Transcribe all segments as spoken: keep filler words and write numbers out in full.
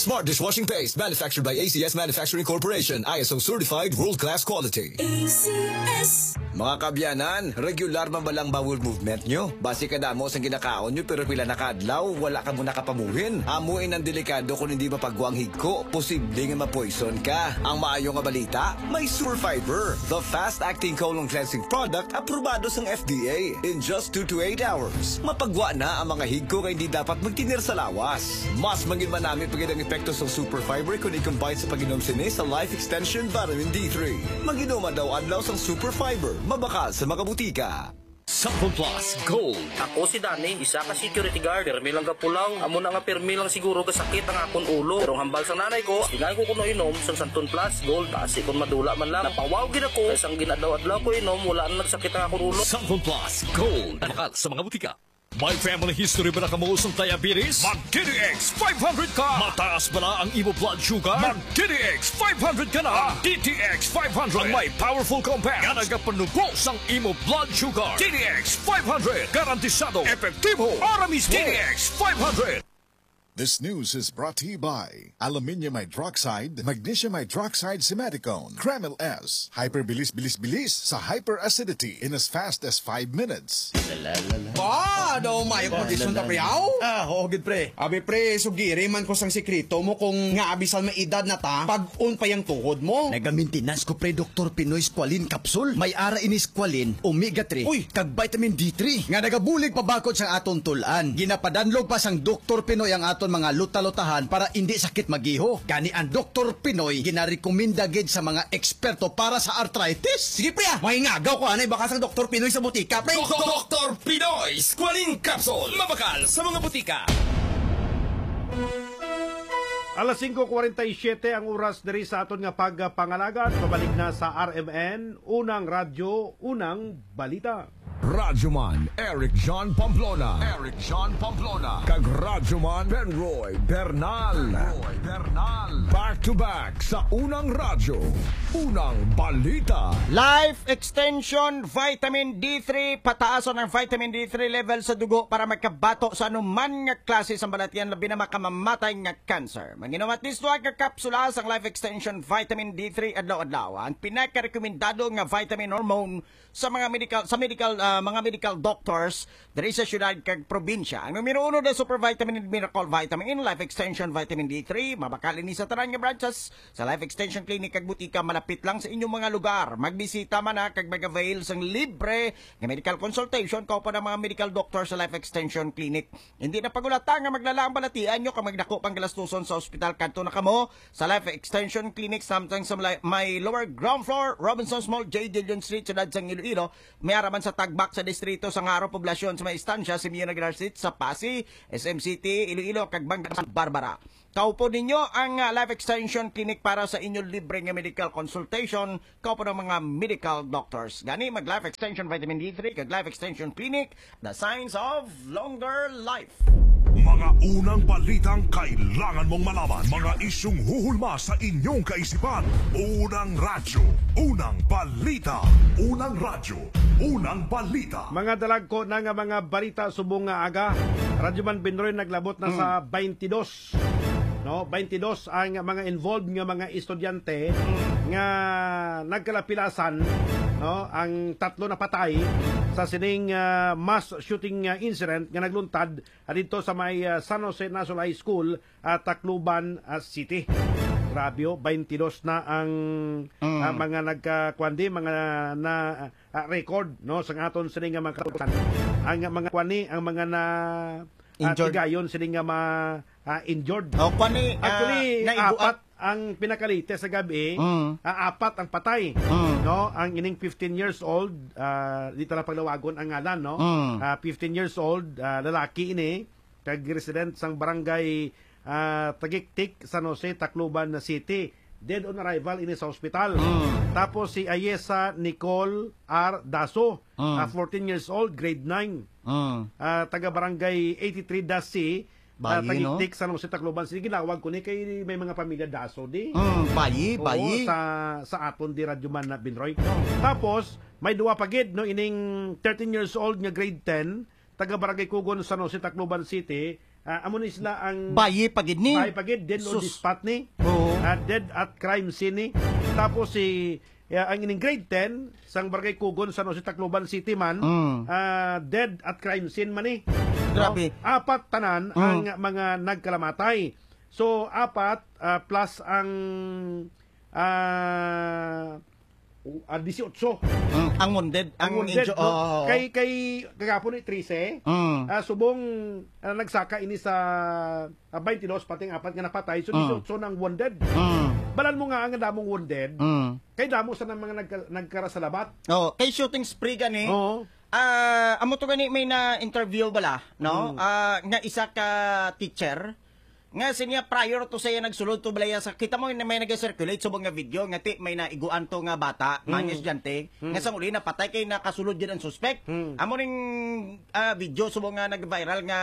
Smart dishwashing paste, manufactured by A C S Manufacturing Corporation, I S O certified, world-class quality. A C S. Mga kabyanan, regular man ba lang bowel movement nyo? Basi kadamo sang ginakaon nyo, pero pila na ka adlaw, wala ka mo nakapamuhin. Amo in ang delikado kung hindi mapagwa ang higko. Posible nga ma-poison ka. Ang maayo nga balita, may Super Fiber, the fast-acting colon cleansing product, aprobado sang F D A. In just two to eight hours, mapagwa na ang mga higko nga hindi dapat magtinir sa lawas. Mas mangin manami pa gid ang epekto sang Super Fiber kon i-combine sa pag-inom sini sa Life Extension Vitamin D three. Mag-inom adlaw-adlaw sang Super Fiber, mabakal sa mga butika. Sample Plus Gold. Ako si Danny, isa ka security guard. Pirmi lang gapulaw. Amo na nga pirmi lang siguro gasakit ang akon ulo. Pero ang hambal sang nanay ko, ingay ko kuno inom sang Santon Plus Gold. Basi kon madula man lang. Napawaw gid ako. Kay sang ginadlaw-adlaw ko inom, wala na nagsakit ang akon ulo. Sample Plus Gold. Mabakal sa mga butika. May family history ba na kamo sang diabetes? Mag T D X five hundred ka! Mataas ba na ang imo blood sugar? Mag T D X five hundred ka na! Ang T D X five hundred ang may powerful compound nga nagapanubo sang imo blood sugar. T D X five hundred, garantisado, epektibo, para mismo. T D X five hundred. This news is brought to you by aluminium hydroxide, magnesium hydroxide, simeticone, Kremil S, hyperbilis-bilis-bilis sa hyperacidity in as fast as five minutes. Ba, daw may kondisyon ta, pre, aw? Ah, oo, gid, pre. Abi, pre, sugiri man ko sang sikreto mo kung nga abisan may edad na ta, pag-on pa yang tuhod mo. Nagamentenas ko, pre, Doktor Pinoy Squalene Capsule. May ara ini Squalene, Omega three, uy, kag Vitamin D three nga nagabulig pabakod sa aton tul-an. Ginapadanlog pa sang Doktor Pinoy ang aton mga luta-lutahan para indi sakit magiho. Gani ang Doktor Pinoy ginarekomenda gid sa mga eksperto para sa arthritis. Sige, pre, ah. Mangingagaw ko anay baka sang Doktor Pinoy sa butika, pre. Doktor Pinoy Squalene Capsule. Mabakal sa mga butika. Alas singko kwarenta y siyete ang oras diri sa aton nga pagpangalagad. Pabalik na sa R M N, Unang Radyo, Unang Balita. Radyo Man Eric John Pamplona. Eric John Pamplona. Kag Radyo Man Benroy Bernal. Benroy Bernal. Back to back sa Unang Radyo, Unang Balita. Life Extension Vitamin D three, pataason ang vitamin D three level sa dugo para makabato sa anuman nga klase sang balatian, labi na makamamatay nga cancer. Manginom at least duha ka kapsula sang Life Extension Vitamin D three adlaw-adlaw. Ang pinakarekomendado nga vitamin hormone sa mga medical, sa medical, ah, mga medical doctors diri sa syudad kag probinsya. Ang numero uno na super vitamin and miracle vitamin, Life Extension Vitamin D three, mabakal ini sa tanan nga branches sa Life Extension Clinic kag butika malapit lang sa inyong mga lugar. Magbisita man na kag mag-avail sang libre nga medical consultation kauban ang mga medical doctor sa Life Extension Clinic. Hindi na pagulata nga maglala ang balatian nyo kag magdako pang galastuson sa ospital. Kadto na kamo sa Life Extension Clinic, samtang sa malay-, may lower ground floor, Robinsons Mall, J. Dillon Street, Syudad sang Iloilo. May ara man sa Tagbak sa distrito sang Jaro, poblasyon sa may istansya, Simeon Aguilar Street sa Passi, S M City, Iloilo, kag Bangka Santa Barbara. Kaupod ninyo ang, ah, Life Extension Clinic para sa inyo libre nga medical consultation, kaupod ang mga medical doctors. Gani, mag Life Extension Vitamin D three kag Life Extension Clinic, the signs of longer life. Mga unang balitang kailangan mong malaman. Mga isyung huhulma sa inyong kaisipan. Unang radyo, unang balita. Unang radyo, unang balita. Mga dalagko na nga mga balita subong nga aga. Radyo Man Binroy naglabot na sa Mm. twenty-two. No, twenty-two ang mga involved nga mga estudyante nga nagkalapilasan, no, ang tatlo napatay sa sining, ah, mass shooting, ah, incident nga nagluntad, ah, didto sa may, ah, San Jose National High School, ah, Tacloban, ah, City. Grabe, oh, twenty-two na ang, Mm. ah, mga nagka-, kuwan di, mga na, ah, record, no, sa aton sini nga mga katukan. Ang mga kuwan ni, ang mga na, ah, Injured. tigayon sini nga ma-, ah, injured. Oh, kuwan ni, ah, Actually, naibuak. apat ang pinakalatest sa gabi, Mm. ah, apat ang patay. Mm. No, ang ining fifteen years old, ah, di ta na paglawagon ang ngalan, no? Mm. Ah, fifteen years old, ah, lalaki ini, kag resident sang barangay, ah, Tagiktik, San Jose, Tacloban City. Dead on arrival ini sa ospital. Mm. Tapos si Ayesa Nicole R. Daso, Mm. ah, fourteen years old, grade nine. Mm. Ah, taga barangay eighty-three Dasi, ah, Bayi, no? Tagiktik, San Jose, Tacloban City. Ginawag ko ni kay may mga pamilya Daso di. Mm, bayi, Oo, bayi. sa, sa aton di Radyo Man na Binroy. Tapos, may duwa pa gid, no, ining thirteen years old nga grade ten, taga Barangay Kugon, San Jose, Tacloban City, Ah, amo ni sila ang Bayi pa gid ni. Bayi pa gid, dead on the Sus. spot ni. Oo. Ah, dead at crime scene ni. Tapos si, ya, ang ining grade ten, sang Barangay Kugon, San Jose, Tacloban City man, Mm. ah, dead at crime scene man ni. No? Grabe. Apat tanan Mm. ang mga nagkalamatay. So, apat, ah, plus ang, ah, ah, dieciocho. Mm, ang wounded, Ang ang wounded, inju-, no? Oo. Kay, kay kagapon ni trese, Mm. ah, subong, ah, nagsaka ini sa, ah, twenty-two, pati ang apat nga napatay, so Mm. dieciocho nang wounded. Mm. Balan mo nga ang damong wounded, Mm. kay damo sa nang mga nagka-, nagkarasalabat. Oh, kay shooting spree gani. Oo. Ah, amo to gani may na-interview bala, no? Mm. Ah, nga isa ka teacher, nga siya prior to siya nagsulod to balaya sa, kita mo na may nag-circulate subong nga video nga ti may naiguan to nga bata, Mm. mga estudyante, Mm. nga sang uli napatay kay nakasulod gyud ang suspect. Mm. Amo ning, ah, video subong nga nag-viral nga,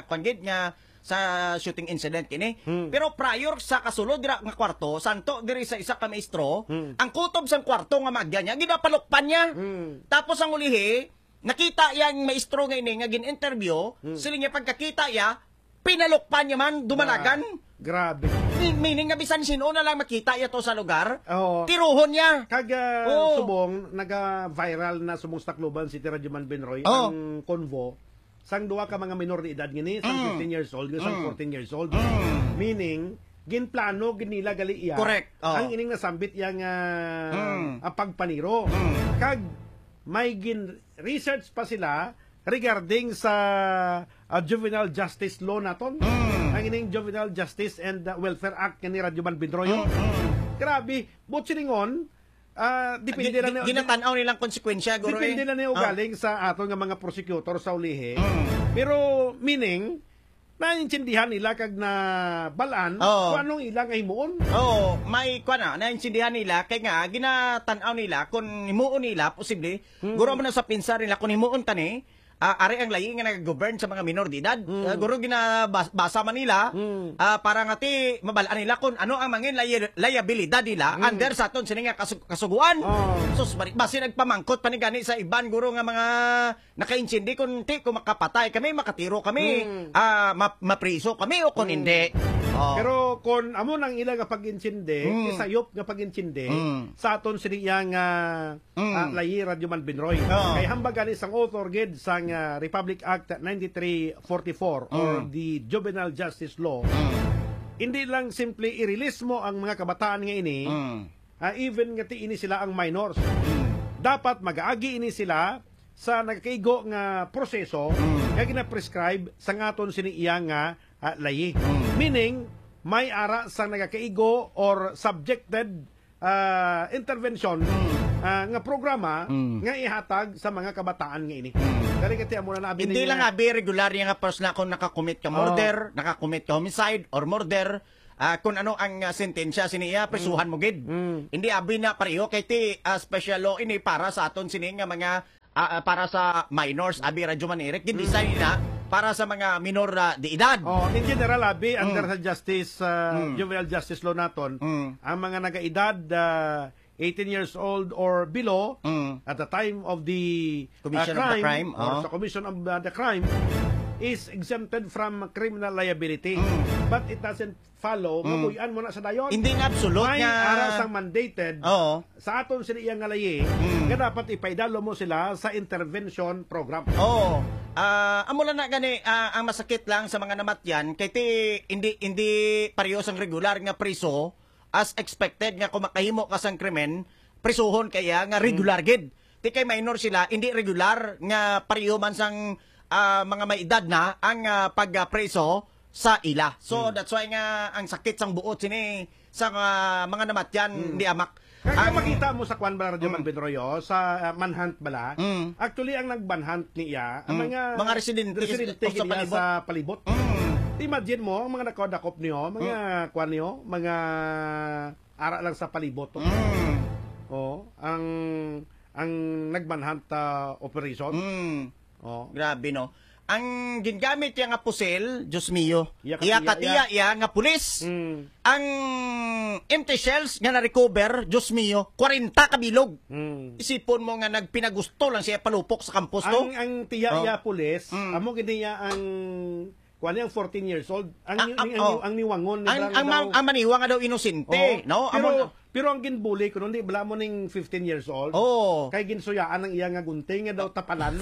kwan gid, nga sa shooting incident kini. Mm. Pero prior sa kasulod dira nga kwarto, santo diri sa isa ka maestro, Mm. ang kutob sang kwarto nga maagyan niya, ginapalukpan niya. Mm. Tapos ang ulihi, nakita yang maestro nga ini nga gin-interview, Mm. siling niya pagkakita iya, pinalukpan niya man, dumalagan. Gra-, grabe. Mi-, meaning nga bisan sino na lang makita iya to sa lugar, Oo. tiruhon niya. Kag, ah, Oo. subong, naga-viral na subong sa Tacloban City, Radyo Man Benroy, Oo. ang convo sang duha ka mga minor de edad ngini, sang Mm. fifteen years old, sang Mm. fourteen years old. Mm. Meaning, ginplano gid nila gali iya Correct. Oo. ang ining nasambit iya nga, Mm. ah, pagpaniro. Mm. Kag may gin-research pa sila regarding sa, ah, juvenile justice law naton. Mm. Ang ining Juvenile Justice and, ah, Welfare Act nga ni Radyo Man Binroyo. Mm, mm. Grabe, buot silingon, ah, depende Gi-, lang gi-, ni, ginatan-aw nilang konsekwensya, guro, depende eh. lang ni Oh. ugaling sa aton nga mga prosecutor sa ulihi. Mm. Pero, meaning, naintindihan nila kag nabalaan Oo. kung anong ila nga himuon. Oo, may, kuwan na, naintindihan nila, kay nga, ginatan-aw nila, kung himuon nila, posible, Hmm. guro mo na sa pinsar nila, kung himuon ta ni, ah, ari ang layi nga nag-govern sa mga minor de edad. Hmm. Ah, guro ginabas-, basa man nila, Hmm. ah, para nga ti, mabalaan nila kung ano ang mga li-, liabilidad nila Hmm. under sa aton sini nga kasu-, kasuguan. Oh. Sus, bari-, basi nagpamangkot pa ni gani sa iban, guro, nga mga nakaintindi kung ti, kung makapatay kami, makatiro kami, Hmm. ah, ma-, mapriso kami o kung Hmm. hindi. Oh. Pero kung amo nang ila nga pag-intindi, Hmm. isayop nga pag-intindi, Hmm. sa aton sini iya nga, Hmm. ah, layi, Radyo Man Binroy. Oh. Kay hambag gani sang author gid sang, ah, Republic Act ninety-three forty-four or Hmm. the Juvenile Justice Law, Hmm. hindi lang simple i-release mo ang mga kabataan nga ini, Hmm. ah, even nga ti ini sila ang minors. Hmm. Dapat mag-agi ini sila sa nagakaigo nga proseso Mm. nga gina-prescribe sang aton sini iya nga, ah, layi. Mm. Meaning, may ara sang nagakaigo or subjected, ah, intervention, Mm. ah, nga programa Mm. nga ihatag sa mga kabataan nga ini. Mm. Kani kati amo na abi Hindi ninyo lang nga abi regular niya nga person na kung nakakumit ka Oh. murder, nakakumit ka homicide or murder, ah, kung ano ang, ah, sentensya sini iya, prisuhan Mm. mo gid. Mm. Hindi abi na pareho kay ti, ah, special law ini para sa aton sini nga mga ah, ah, para sa minors, abi, Radyo Man Eric, gin-design Mm. na para sa mga minor, ah, de edad. Oh, in general, abi, under Mm. sa justice, ah, Mm. juvenile justice law naton, Mm. ang mga nagaedad, ah, eighteen years old or below, Mm. at the time of the, ah, Commission of the crime, crime, or oh. sa commission of, ah, the crime, is exempted from criminal liability. Mm. But it doesn't follow, Mm. mapuy-an mo na sa dayon. Hindi nga absolute May nga ara sang mandated Oo. sa aton sila iya nga layi, Mm. nga dapat ipaidalo mo sila sa intervention program. Oo. Ah, amo lang na gani, ah, ang masakit lang sa mga namatyan, kay ti, hindi, hindi pareho sang regular nga priso, as expected nga kung makahimo ka sang krimen, prisuhon kaya nga Mm. regular gid. Ti kay minor sila, hindi regular nga pareho man sang, ah, mga may edad na ang, ah, pag, ah, preso sa ila. So, Hmm. that's why nga ang sakit sang buot sini sa, ah, mga namatyan Hmm. ni Amak. Kaya Ang makita mo sa kwan bala, Radyo Hmm. Man Benroyo, sa, ah, manhunt bala, Hmm. actually, ang nagmanhunt niya, ang Hmm. mga Mga residente residente sa gid niya palibot. sa palibot. Hmm. Imagine mo, ang mga nakadakop niyo, mga Hmm. kwan niyo, mga ara lang sa palibot. Hmm. Oh, ang, ang nagmanhunt, ah, operation. Mm. Oh. Grabe, no? Ang gingamit niya nga pusil, Diyos mio, Iya, iya katiya, katiya iya. iya nga pulis. Mm. Ang empty shells nga na-recover, Diyos mio, kwarenta ka bilog. Mm. Isipon mo nga nagpinagusto lang siya palupok sa kampos to. Ang, ang tiya Oh. iya pulis, Mm. amo gid niya ang Kuan niya ang fourteen years old. Ang, Ah, ni- ah, ang, oh. ang niwangon, Ang, nibrang ang, daw. ma- ang maniwa nga daw inosente, Oh, no? pero, Amo- pero ang ginbuli ko, hindi bala mo ning fifteen years old. Oo. Kay ginsuyaan ang iya nga gunting nga daw tapalan.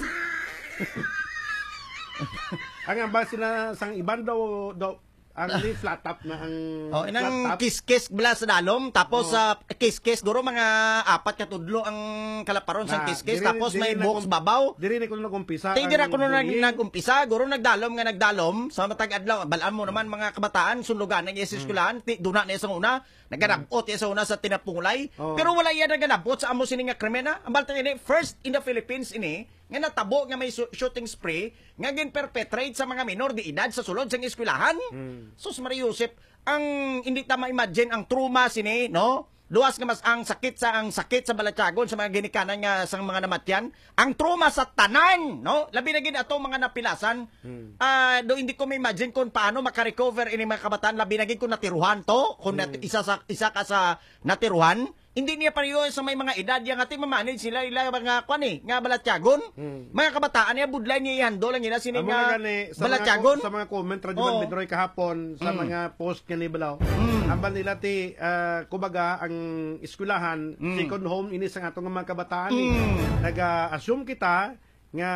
Ang ambal sina sang iban daw, daw ang ni flat top na ang Oh, inang flat top. Kiskis bala sa dalom, tapos Oh. sa kiskis, guro mga apat ka tudlo ang kalaparon sa Na, kiskis, diri, tapos diri may na buhok kum-, sa babaw. Diri na kuno nag-umpisa Ti, ang dira kuno nag-, bullying. nag-umpisa, guro nagdalom nga nagdalom, sa matag adlaw, balaan mo naman mga kabataan, sunlugan na iya sa Hmm. eskwelahan, ti, duna na iya sa una, naganabot iya sa una sa tinapungulay, Oh. pero wala iya naganabot sa amo sini nga krimen, ha? Ang balta ini, first in the Philippines ini, nga natabo nga may su-, shooting spree, nga gin-perpetrate sa mga minor de edad sa sulod sang eskwelahan. Hmm. Sus, Maria Josep, ang hindi ta ma-imagine ang trauma sini, no? Luwas nga mas ang sakit sa, ang sakit sa balatyagon sa mga ginikanan nga sang mga namatyan, ang trauma sa tanan, no? Labi na gid ato mga napilasan. Hmm. Ah, do hindi ko ma-imagine kung paano makarecover ini mga kabataan, labi na gid kung natiruhan to, kung nat-, Hmm. isa sa, isa ka sa natiruhan, hindi niya pareho sa may mga edad yang ati mamanage sila ila mga kwan eh, nga balatyagon. Hmm. Mga kabataan niya, budlay niya ihandol ang ila sini Amo nga na gani, sa mga balatyagon. co-, sa mga comment, Radyo Oo. Manbidroy kahapon, sa Mm. mga post nga ni Balaw, Mm. ambal nila ti, ah, kumbaga, ang eskwelahan, Mm. second home ini sa atong mga kabataan, eh. Mm. Nag-assume kita nga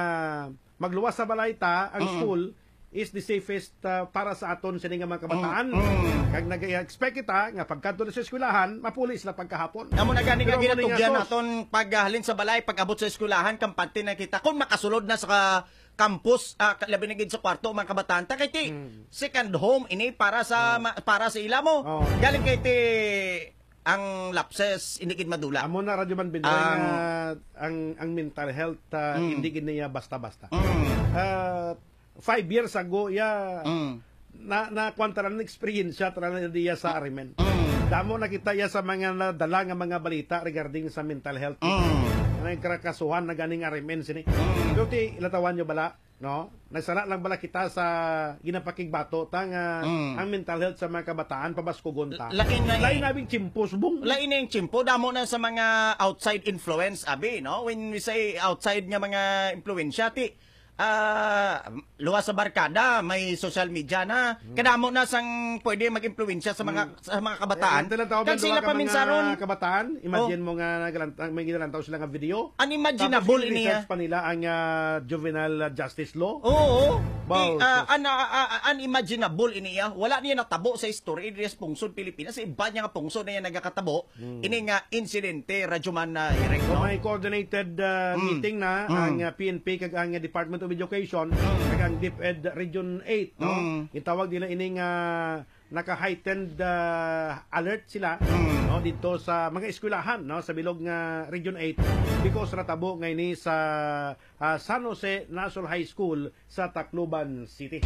magluwas sa balay ta, ang Mm. school is the safest, ah, para sa aton sini nga mga kabataan. Mm. Mm. Kag nag-expect kita nga pagkadto na sa eskwelahan, mapuli sila pagkahapon. Amo na gani nga Pero amo ni nga ginatugyan sos. naton paghalin sa balay, pag-abot sa eskwelahan, kampante na kita. Kung makasulod na sa ka-, campus, ah, ka-, labi na gid sa kwarto, mga kabataan, ta kay ti, Mm. second home ini para sa Oh. ma-, para sa ila mo. Oh. Galing kay ti, ang lapses, hindi gid madula. Amo na, Radyo Manbinoy, Ang nga ang, ang mental health, ah, Mm. hindi gid niya basta-basta. Mm. Ah, five years ago, ya, Mm. na, na, kuwan, tanan experience, tanan diya sa Arimen. Mm. Damo nakita ya sa mga nadala nga mga balita regarding sa mental health. Mm. Nagkakasuhan na ganing Arimen sini. Mm. Pero ti, ilatawan nyo bala, no? Nagsala lang bala kita sa ginapakigbato ta nga Mm. ang mental health sa mga kabataan pabaskugon ta. Lain na Lain eh. nabing chimpo, subong. Lain na yung chimpo, damo na sa mga outside influence, abi, no? When we say outside nga mga impluwensya, ti, ah, luwas sa barkada, may social media na. Mm. Kadamo na sang pwede mag-impluwensya sa mga, Mm. sa mga kabataan. Eh, ang tinatawag Kag ng sila duha ka mga paminsaron. kabataan, imagine Oh. mo nga nagalantaw, may ginalantaw sila nga video. Unimaginable Tapos ini, i-research ah. pa nila ang, ah, juvenile, ah, justice law. Oo. Baw, Di, ah, sus. an-, ah, ah, ah, unimaginable ini, ah. Wala niya natabo sa history diri sa pungsod Pilipinas. Sa iba niya nga pungsod na yan nagakatabo. Hmm. Ini nga insidente, Radyo Man, ah, Eric, So, no? may coordinated, ah, Hmm. meeting na Hmm. ang, ah, P N P kag ang, ah, Department of Education Hmm. kag ang DepEd Region eight, no? Hmm. Gitawag nila ining, ah, naka-heightened, ah, alert sila, Mm. no, dito sa mga eskwelahan, no, sa bilog nga Region eight because natabo nga ini sa, ah, San Jose National High School sa Tacloban City.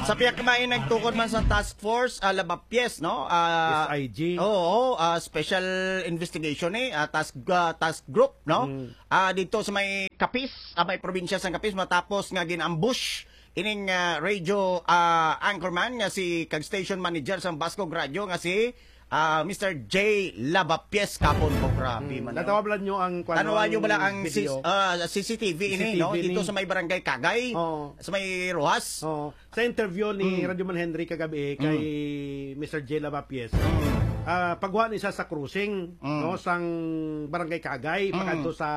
Sa pihak may nagtukod man sa task force, ah, Labapyes, no? Ah, S I G. Oo, ah, special investigation eh, ah, task, ah, task group, no? Mm. Ah, dito sa may Capiz, ah, may probinsya sa Capiz, matapos nga gin-ambush ining, ah, radio, ah, anchorman nga si kag station manager sang Bascog Radio nga si, ah, Mister J Lavapies kapon ko. Grabe Hmm, man, no? Natawag lang nyo ang, kwan, Tanawan nyo ang bala ang video. sis-, ah, C C T V ini, C C T V no? Dito ni sa may barangay Kagay, Oo. sa may Roxas. Oo. Sa interview ni Mm. Radyo Man Henry kagabi kay Mm. Mister J Lavapies, Mm. ah, pagwa ni siya sa crossing, Mm. no, sang barangay Kagay, Mm. pakadto sa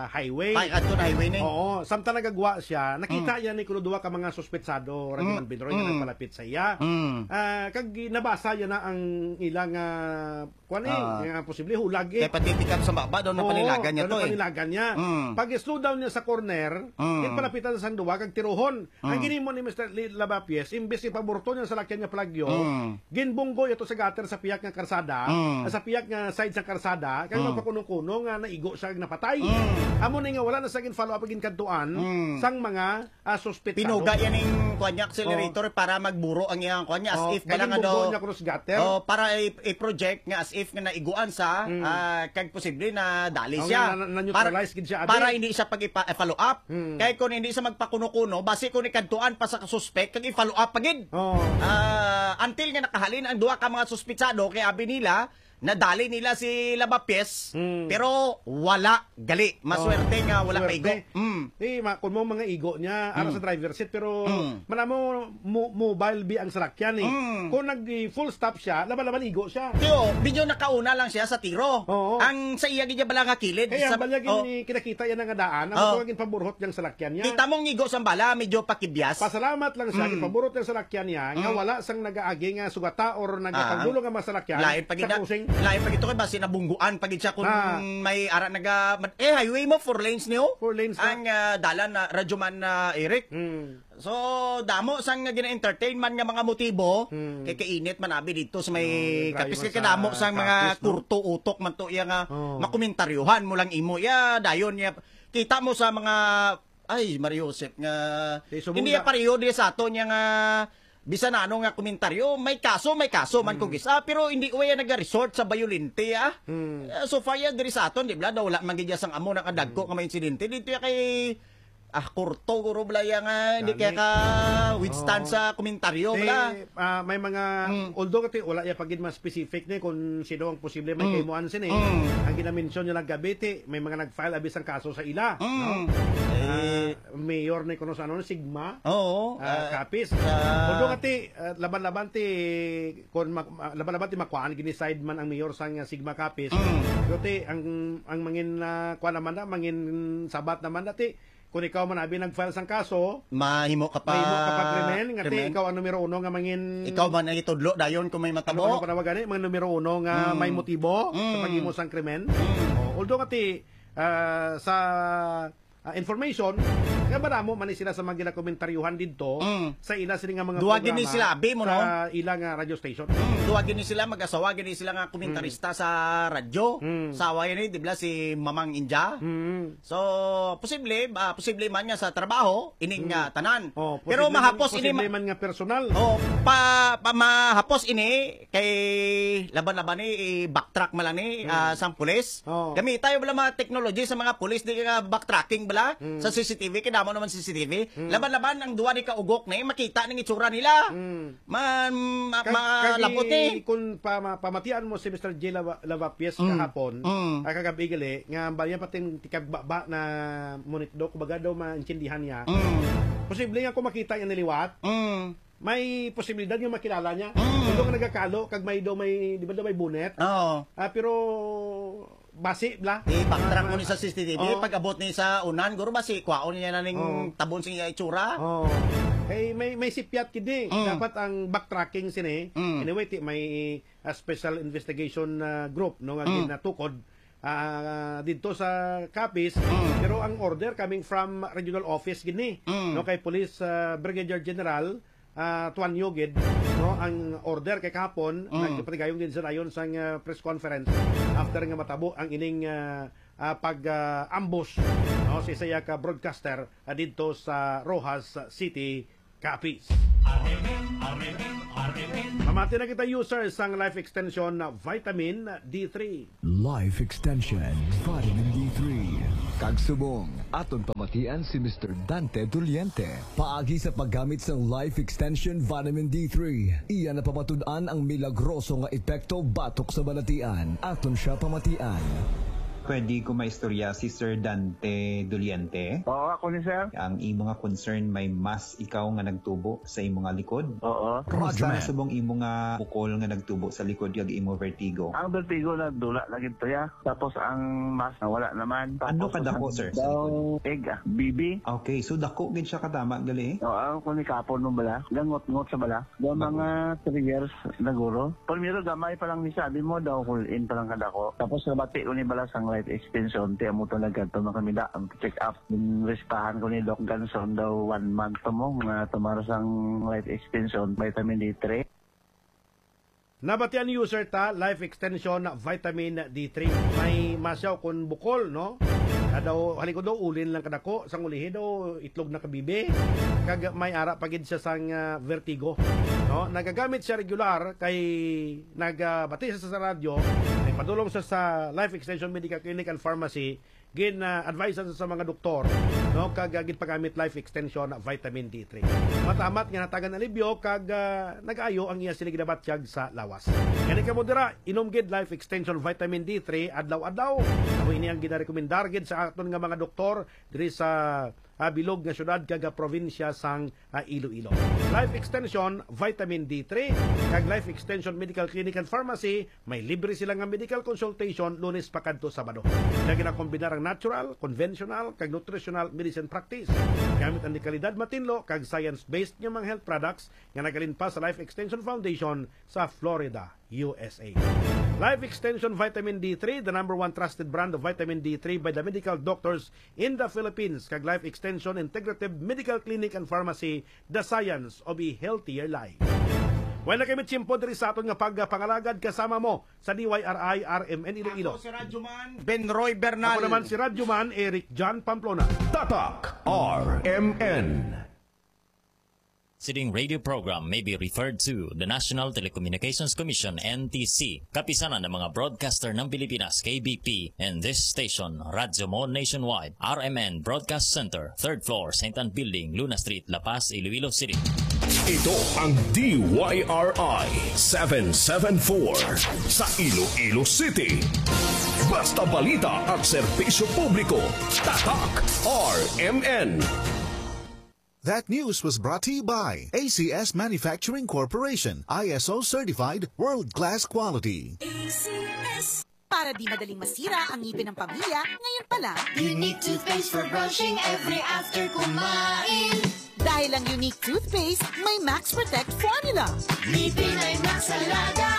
highway. Ay, adto na highway ni. Oo, samtang nagagwa siya, nakita Mm. niya ni kuno duha ka mga suspetsado, Radyo Mm. Man Binoy, nga Mm. nagpalapit sa iya. Mm. Ah, kag nabasa niya na ang ilang, ah, kuwan eh, Ah. nga posible hulag eh. Kay patitikap sa baba, daw Oo, napanilagan niya daw to eh. napanilagan niya. Mm. Pag-slow down niya sa corner, Mm. ginpalapitan sa sang duwa kag tiruhon. Ang Mm. ginhimo ni Mister Li-, Lavapies, imbes ipaburto niya sa lakyan nga palagyo, Mm. ginbunggo ito sa gutter sa pihak nga karsada, Mm. sa pihak nga side sa karsada, kag Mm. magpakuno-kuno nga naigo siya kag napatay. Mm. Amo ni nga wala na sa gin-follow up ang ginkadtuan Mm. sang mga, ah, suspetsado. Pinuga yan ning kuwan niya, accelerator Oh. para magburo ang iyang kuwan niya, as Oh, if kag bala nga ginbunggo daw niya kuno sa gutter. Oh, para i-, i-project nga as if nga naiguan sa, Mm. ah, kag posible na dali Oh, siya. nga na, na, Para, neutralize gid siya, abi. para hindi siya pag-ipa-, follow up. Hmm. Kay kung hindi siya magpakuno-kuno, basi kung ikadtuan pa sa suspek, kag i-follow up pa gid. Oo. Ah, until nga nakahalin ang duha ka mga suspetsado, kay abi nila, Nadali nila si Lavapies, Mm. pero wala gali. Maswerte Oh, nga wala swerte. maigo. Mm. Eh, ma-, kung mo mga igo niya, ara Mm. sa driver's seat, pero Mm. manamo mo-, mobile bi ang salakyan eh. Mm. Kung nag-full stop siya, laban-laban igo siya. Tiyo, medyo nakauna lang siya sa tiro. Oo. Ang sa iya gid bala nga kilid, Kaya sa ang balyag oh. ni kinakita yan nga daan, ang Oh. mga ginpaburhot niyang salakyan niya. Kita mo ang igo sa bala, medyo pakibyas. Pasalamat lang siya, Mm. ginpaburhot niyang salakyan niya, nga Mm. wala sang nagaagi nga sugata or Ah, nagapanggulo nga mga salakyan lain pa gid sa na, crossing. lain pa gid to kay basi nabungguan pa gid siya kung Ah. may ara naga, eh, highway mo, four lanes niyo. Four lanes na. Ang, ah, dalan na, Radyo Man, ah, Eric. Hmm. So, damo sang gina-entertain man nga mga motibo, Hmm. kay kainit man abi dito sa may No, may Kapis, drayo kay sa kadamo sang mga Kapis, no? kurto utok man to iya nga Oh. makomentaryohan mo lang imo. Iya, dayon niya. Kita mo sa mga, ay, Mario Joseph, nga Di, subong hindi na. pareho di sa ato niya nga bisan ano nga komentaryo, may kaso, may kaso man Mm. kung isa, pero hindi ko yan nag-resort sa bayolente, ah. Mm. Eh, so far, yan, diri sa aton, di ba? Daw wala man gid sang amo nakadagko Mm. nga may insidente. Dito ya kay, ah, kurto, guro, bala, ya nga, hindi Gani. kaya ka withstand Oo. sa komentaryo, Ti, bala. ah, may mga, Mm. although kati, wala ya pagid mas specific ni kung sino ang posible may Mm. kaimuan sini. Mm. Ang ginamention nyo lang gabi, ti, may mga nag-file abi sang kaso sa ila, Mm. no? Eh, Ah, mayor ni kuno sa ano, Sigma. Oo, Ah, ah, Capiz. sa Although nga ti, ah, laban-laban ti, kon mak-, ah, laban-laban ti makuhaan, gini-side man ang mayor sang, ah, Sigma Capiz. Mm. Pero ti, ang, ang mangin, ah, kuha naman na, mangin sabat naman na ti, kung ikaw man abi nag-file sang kaso, Mahimo ka pa mahimo ka pa krimen, nga ti krimen. ikaw ang numero uno nga mangin Ikaw man ang itudlo dayon kung may matabo. Ano, ano pa tawag gani? Mga numero uno nga Mm. may motibo sa Mm. paghimo sang krimen. Mm. Oh, although nga ti, ah, sa ah, information, nga madamo man ni sila sa mga ginakomentaryuhan didto Mm. sa ila sini nga mga Duha gini programa sila, abi mo, no? sa ila nga radio station. Mm, duha gini sila, mag-asawa gini sila nga komentarista Mm. sa radyo. Mm. Sa away ni, di ba, si Mamang India? Mm. So, posible, ah, posible man nga sa trabaho, ining, Mm. ah, tanan. Oh, Pero posible man, mahapos ini posible ma- man nga personal. Oh, pa, pa mahapos ini kay laban-laban ni i-backtrack man lang ni, Mm. ah, sang pulis. Oh. Gamita yung wala mga technology sa mga pulis, di ka backtracking bala Mm. sa C C T V, kay damo naman C C T V. Mm. Laban-laban ang duwa ni kaugok na eh, makita ning itsura nila. Mm. Ma-, ma-, Kag-, malabot kagi eh. Kung pa-, ma-, pamatian mo si Mister J Lava-, Lavapies Mm. kahapon, Mm. ah, kagabi gali, nga bali niya pating tikagbaba na munit do, kumbaga daw maintindihan niya. Mm. Posible nga kung makita niya niliwat, Mm. may posibilidad nga makilala niya. Mm. Although nga nagakalo, kag may daw may, di ba daw may bonnet? Oo. Ah, pero basi bla. I-backtrack mo Ah, ni sa C C T V, oo. Pag-abot ni sa unan, guro basi, kwaon niya na ning Oo. tabon sa iya itsura. Oo. Kay may, may sipyat gid ni. Mm. Dapat ang backtracking sini. Mm. Anyway, ti, may, ah, special investigation, ah, group, no, nga Mm. ginatukod, ah, didto sa Capiz. Mm. Pero ang order coming from regional office gid ni, Mm. no, kay Police, ah, Brigadier General, ah, Tuanyo gid, no, ang order kay kahapon, Mm. nagpatigayon gid sila dayon sang, ah, press conference after nga matabo ang ining, ah, ah, pag, ah, ambush, no, sa isa ka broadcaster, ah, didto sa Roxas City, Capiz. Mamati na kita, user sang Life Extension Vitamin D three. Life Extension Vitamin D three. Kag subong, aton pamatian si Mister Dante Doliente. Paagi sa paggamit sang Life Extension Vitamin D three, iya napamatud-an ang milagroso nga epekto batok sa balatian. Aton siya pamatian. Pwede ko maistorya si Sir Dante Doliente? Oo, ako ni sir. Ang imo nga concern, may mass ikaw nga nagtubo sa imo nga likod? Oo. Kamusta Roger, na man. Subong imo nga bukol nga nagtubo sa likod kag imo vertigo? Ang vertigo nagdula na gid to ya. Tapos ang mass nawala naman. Ano Tapos kadako, ang sir, sa daw likod? Egg, ah, bibi. Okay, so dako gid siya katama gali? Oo, ang kunikapon mo bala. Gangot-ngot sa bala. Daw Bago. Mga three years naguro. Primero gamay pa lang ni sabi mo daw, hulin pa lang kadako. Tapos nabati ko ni bala sang Life Extension, ti amo to nagkadto na kami da ang check up. Yung respahan ko ni Doc Ganson daw one month to mo nga tumar sang Life Extension, vitamin D three. Nabatian ni user ta, Life Extension Vitamin D three. May masyaw kun bukol, no? Kadaw, halikod daw, ulin lang kadako, sang ulihi daw, itlog na kabibi. Kag may ara pa gid siya sang, ah, vertigo, no? Nagagamit siya regular kay nagabati siya sa radyo, nagpadulong siya sa Life Extension Medical Clinic and Pharmacy, gin-advisean sa mga doktor, no, kag, ah, ginpagamit Life Extension Vitamin D three. Matamat nga natagan alibyo kag, ah, nag-ayo ang iya sini ginabatyag sa lawas. Gani kamo dira, inom gid Life Extension Vitamin D three adlaw-adlaw. Amo ini ang ginarekomendar gid sa aton nga mga doktor diri sa, ah, bilog nga syudad kag, ah, probinsya sang, ah, Iloilo. Life Extension Vitamin D three kag Life Extension Medical Clinic and Pharmacy, may libre sila nga medical consultation Lunes pa kadto Sabado. Sila ginakombinar ang natural, conventional, kag nutritional medicine practice. Gamit ang dekalidad, matinlo, kag science-based nga mga health products nga nagalinpas sa Life Extension Foundation sa Florida, U S A. Life Extension Vitamin D three, the number one trusted brand of vitamin D three by the medical doctors in the Philippines, kag Life Extension Integrative Medical Clinic and Pharmacy, the science of a healthier life. Wala kami tiyempo diri sa aton nga pagpangalagad kasama mo sa D Y R I R M N Iloilo. Ako si Radyo Man Ben Roy Bernal. Ako naman si Radyo Man Eric John Pamplona. Tatak R M N. Sitting radio program may be referred to the National Telecommunications Commission, N T C, Kapisanan ng mga Broadcaster ng Pilipinas, K B P, and this station, Radyo Mo Nationwide, R M N Broadcast Center, third floor, Saint Ann Building, Luna Street, La Paz, Iloilo City. Ito ang D Y R I seven seven four sa Iloilo City. Basta balita at serbisyo publiko, Tatak R M N. That news was brought to you by A C S Manufacturing Corporation, I S O certified, world-class quality. A C S. Para di madaling masira ang ngipin ng pamilya, ngayon pa lang. Unique toothpaste for brushing every after kumain. Dahil ang Unique Toothpaste, may Max Protect Formula. Ngipin ay Max Alaga,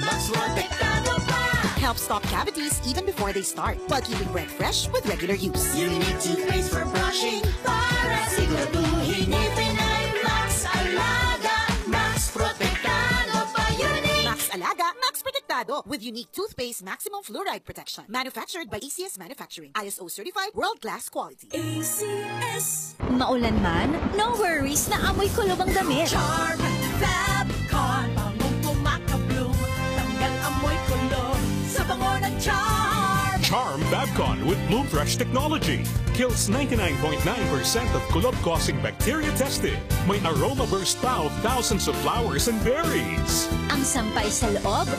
Max Protektado pa. Help stop cavities even before they start, while keeping breath fresh with regular use. Unique toothpaste for brushing para siguraduhin ngipin ay Max Alaga, Max Protektado pa. Unique. Max Alaga, Max Protektado with Unique Toothpaste Maximum Fluoride Protection. Manufactured by A C S Manufacturing. I S O certified, world-class quality. A C S. Maulan man, no worries, na amoy kulob ang damit. Charm Fab Con, bangong kumaka-bloom, tanggal amoy kulob sa bango ng Charm. Charm Fab Con with Bloom Fresh technology kills ninety-nine point nine percent of kulob-causing bacteria tested. May aroma burst pa of thousands of flowers and berries. Ang sampay sa loob,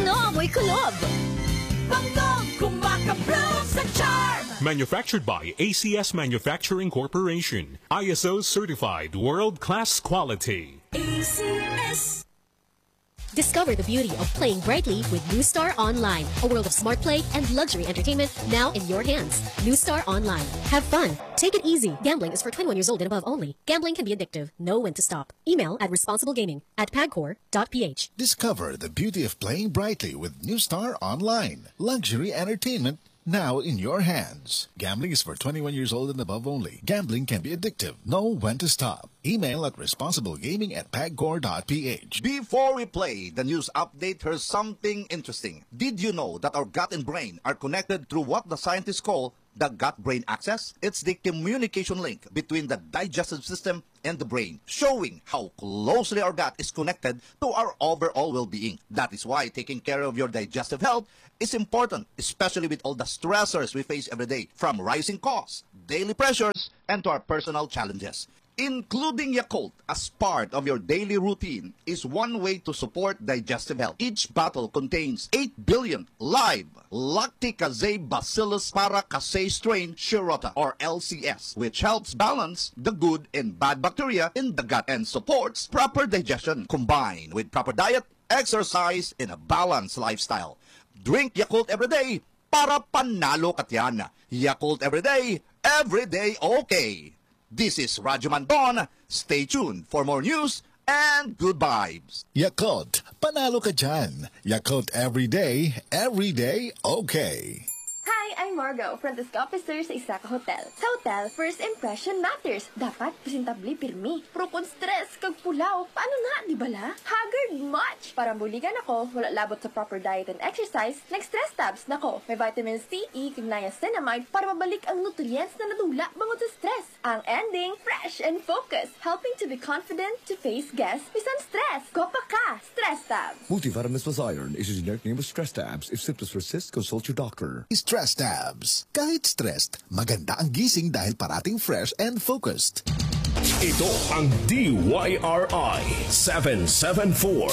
no amoy kulob. Bangong kumaka-bloom sa Charm. Manufactured by A C S Manufacturing Corporation. I S O certified world-class quality. A C S. Discover the beauty of playing brightly with New Star Online, a world of smart play and luxury entertainment now in your hands. New Star Online. Have fun. Take it easy. Gambling is for twenty-one years old and above only. Gambling can be addictive. Know when to stop. Email at responsiblegaming at pagcor dot p h. Discover the beauty of playing brightly with New Star Online. Luxury entertainment now in your hands. Gambling is for twenty-one years old and above only. Gambling can be addictive. Know when to stop. Email at responsiblegaming at pagcor dot p h. Before we play the news update, here's something interesting. Did you know that our gut and brain are connected through what the scientists call the gut-brain axis? It's the communication link between the digestive system and the brain, showing how closely our gut is connected to our overall well-being. That is why taking care of your digestive health is important, especially with all the stressors we face every day, from rising costs, daily pressures, and to our personal challenges. Including Yakult as part of your daily routine is one way to support digestive health. Each bottle contains eight billion live Lacticase Bacillus paracasei strain Shirota, or L C S, which helps balance the good and bad bacteria in the gut and supports proper digestion, combined with proper diet, exercise, and a balanced lifestyle. Drink Yakult every day para panalo ka tiyan. Yakult every day, every day okay. This is Radyo Mandon. Stay tuned for more news and good vibes. Yakult, panalo ka dyan. Yakult every day, every day okay. Hi, I'm Margo, front desk officer sa isa ka hotel. Sa hotel, first impression matters. Dapat presentable pirmi. Pero kung stress kag pulaw, paano na, di bala? Haggard much! Para buligan ako, wala labot sa proper diet and exercise, nag-stress tabs na ko. May vitamin C, E, kag niacinamide para mabalik ang nutrients na nadula bangod sa stress. Ang ending, fresh and focused, helping to be confident to face guests bisan stress. Gopa ka! Stress Tabs! Multivitamins plus iron is a generic name of Stress Tabs. If symptoms persist, consult your doctor. Stress Tabs. abs. Kahit stressed, maganda ang gising dahil parating fresh and focused. Ito ang D Y R I seven seven four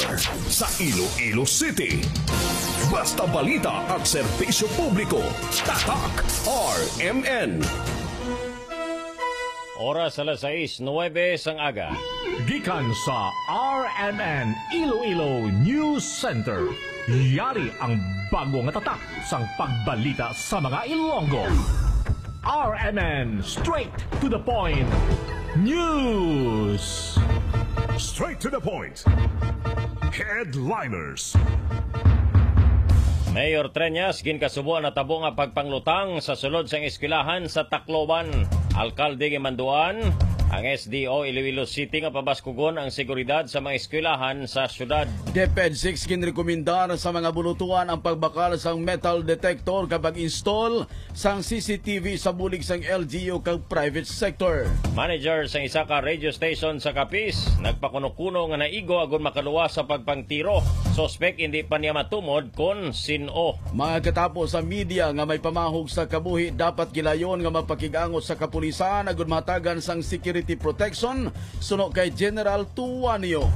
sa Iloilo City. Basta balita at serbisyo publiko, Tatak R M N. Oras alas sais nuwebe sang aga. Gikan sa R M N Iloilo News Center, yari ang bago nga tatak sang pagbalita sa mga Ilonggo. R M N, straight to the point. News. Straight to the point. Headliners. Mayor Treñas ginkasubo ang natabo nga pagpanglutang sa sulod sang eskwelahan sa Tacloban. Alkalde ginmanduan ang S D O Iloilo City nga pabaskugon ang seguridad sa mga eskwelahan sa syudad. DepEd six ginrekomendar sa mga bulutuan ang pagbakal sang metal detector kag pag-install sang C C T V sa bulig sang L G U kag private sector. Manager sang isa ka radio station sa Capiz nagpakuno-kuno nga naigo agud makaluwas sa pagpangtiro. Suspek hindi pa niya matumod kon sin-o. Mga katapo sa media nga may pamahog sa kabuhi dapat gilayon nga mapakig-angot sa kapulisan agud mahatagan sang security protection suno kay General Tuanio.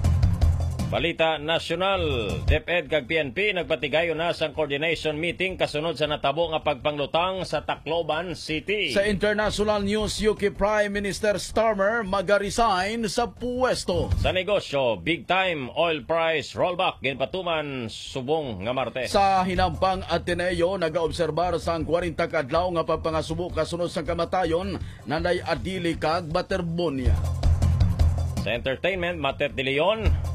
Balita nasyonal, DepEd kag P N P nagpatigayon na sang coordination meeting kasunod sa natabo nga pagpanglutang sa Tacloban City. Sa international news, U K Prime Minister Starmer magaresign sa puwesto. Sa negosyo, big time oil price rollback ginpatuman subong nga Martes. Sa hinampang Ateneo, nagaobserbar sang kwarenta ka adlaw nga pagpangasubo kasunod sang kamatayon Nanay Adili kag Baterbonia. Sa entertainment, Matet de Leon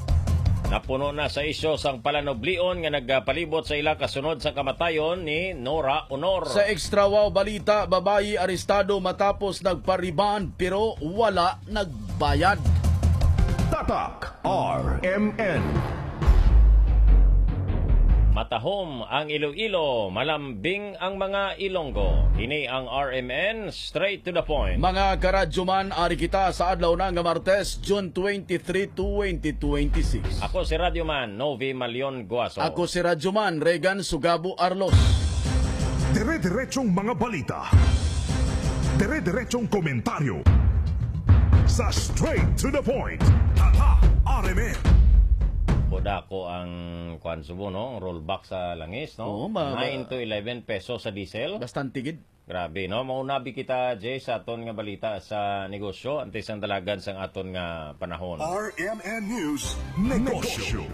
napuno na sa isyu sang palanublion nga nagapalibot sa ila kasunod sa kamatayon ni Nora Honor. Sa extra wow balita, babayi arestado matapos nagpa-rebond pero wala nagbayad. Tatak R M N. Matahom ang Iloilo, malambing ang mga Ilonggo. Ini ang R M N, straight to the point. Mga karadyoman, ari kita sa adlaw na nga Martes, June twenty-three, twenty twenty-six. Ako si Radyoman Novi Malion Guaso. Ako si Radyoman Regan Sugabo Arlos. Dire-diretsong mga balita. Dire-diretsong komentaryo. Sa Straight to the Point. Tatak R M N. Kuda ko ang kuan subo, no? Ang rollback sa langis, no? Oo, ma-, Nine to eleven pesos sa diesel. Bastante gid. Grabe, no? Maunabi kita, Jay, sa aton nga balita sa negosyo, antes ang dalagan sang aton nga panahon. R M N News, Negosyo.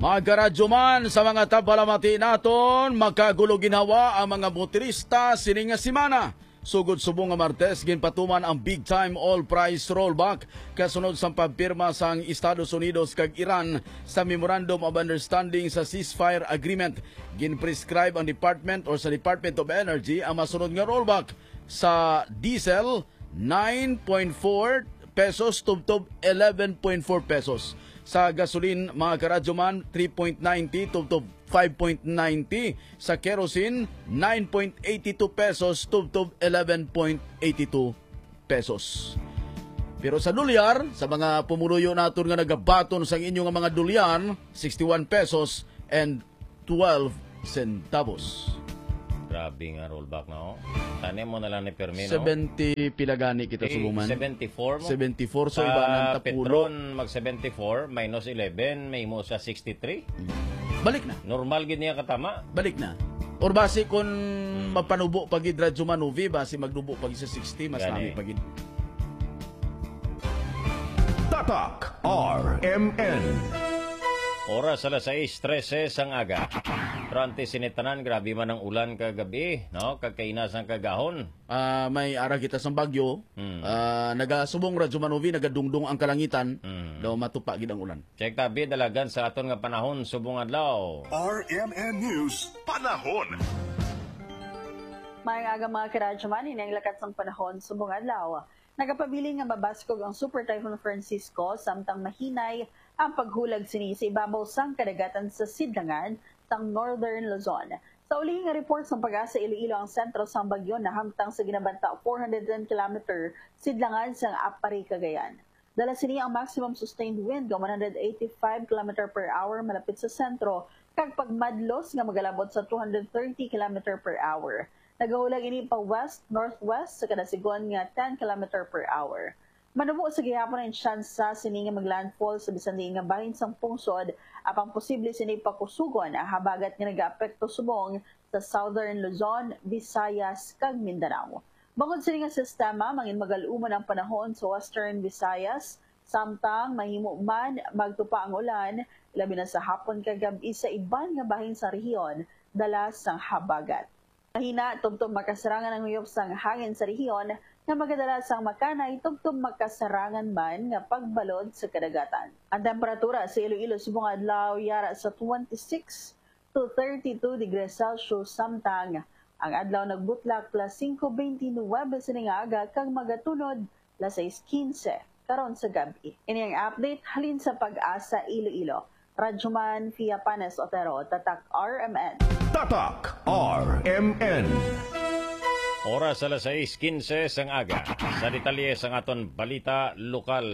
Mga karadyoman, sa mga tapalamati naton, makagulo ginhawa ang mga motorista sini nga semana. Sugod subong nga Martes, ginpatuman ang big time oil price rollback kasunod sang pagpirma sang Estados Unidos kag Iran sa Memorandum of Understanding sa ceasefire agreement. Ginprescribe ang department or sa Department of Energy ang masunod nga rollback sa diesel, nine point four pesos tubtob eleven point four pesos. Sa gasoline, mga karadyoman, three point ninety tubtob five point ninety. Sa kerosene, nine point eighty two pesos tubtob eleven point eighty two pesos. Pero sa dolyar, sa mga pumuluyo naton nga nagabaton sang inyo nga mga dolyar, sixty-one pesos and twelve centavos. Grabe nga rollback na, oh. Tani mo na lang ni Permi, no? Seventy pila gani kita, eh, subong man? Seventy-four mo? Seventy-four, so iba ng tapulo. Petron, mag seventy-four, minus eleven, may mo sa sixty-three. Balik na. Normal gid niya katama. Balik na. Or basi kung mapanubo pa gid, Radyo Manuvi, basi magnubo pa gid sa sixty, mas Gani. nami pa gid. Tatak R M N. Oras alas sais trese sang aga. Pero antes sini tanan, grabe man ang ulan kagabi, no? Kag kaina sang kagahon. Ah, may ara kita sang bagyo. Hmm. Ah, nagasubong, Radyo Manuvi, nagadungdong ang kalangitan. Hmm. Daw matupa gid ang ulan. Check tabi dalagan sa aton nga panahon subong adlaw. R M N News, panahon. Maayong aga, mga karadyoman, ini ang lakat sang panahon subong adlaw. Nagapabilin nga mabaskog ang Super Typhoon Francisco, samtang mahinay ang paghulag sini sa ibabaw sang kadagatan sa sidlangan sang Northern Luzon. Sa ulihi nga report sang PAGASA Iloilo, ang sentro sang bagyo nahamtang sa ginabanta four hundred ten kilometer sidlangan sang Aparri, Cagayan. Dala sini ang maximum sustained wind nga one hundred eighty-five kilometer per hour malapit sa sentro, kag pagmadlos nga magalabot sa two hundred thirty kilometer per hour. Nagahulag ini pa west-northwest sa kadasigon nga ten kilometer per hour. Manubo sa gihapon ang tsansa sini nga maglandfall sa bisan diin nga bahin sang pungsod, apang posible sini pakusugon ang habagat nga nagaapekto subong sa Southern Luzon, Visayas, kag Mindanao. Bangod sini nga sistema, mangin magal-umon ang panahon sa Western Visayas, samtang mahimo man magtupa ang ulan, labi na sa hapon kag gab-i sa iban nga bahin sa rehiyon, dala sang habagat. Mahina tubtob makasarangan ang huyop sang hangin sa rehiyon nga magadala sang makanay tubtob makasarangan man nga pagbalod sa kadagatan. Ang temperatura sa Iloilo subong adlaw yara sa twenty-six to thirty-two degrees Celsius, samtang ang adlaw nagbutlak las singko beintinuwebe sining aga kag magatunod las sais kinse karon sa gab-i. Ini ang update halin sa Pag-asa Iloilo. Radyoman Fia Panes Otero, Tatak R M N. Tatak R M N. Oras alas sais kinse sang aga. Sa detalye sang aton balita lokal.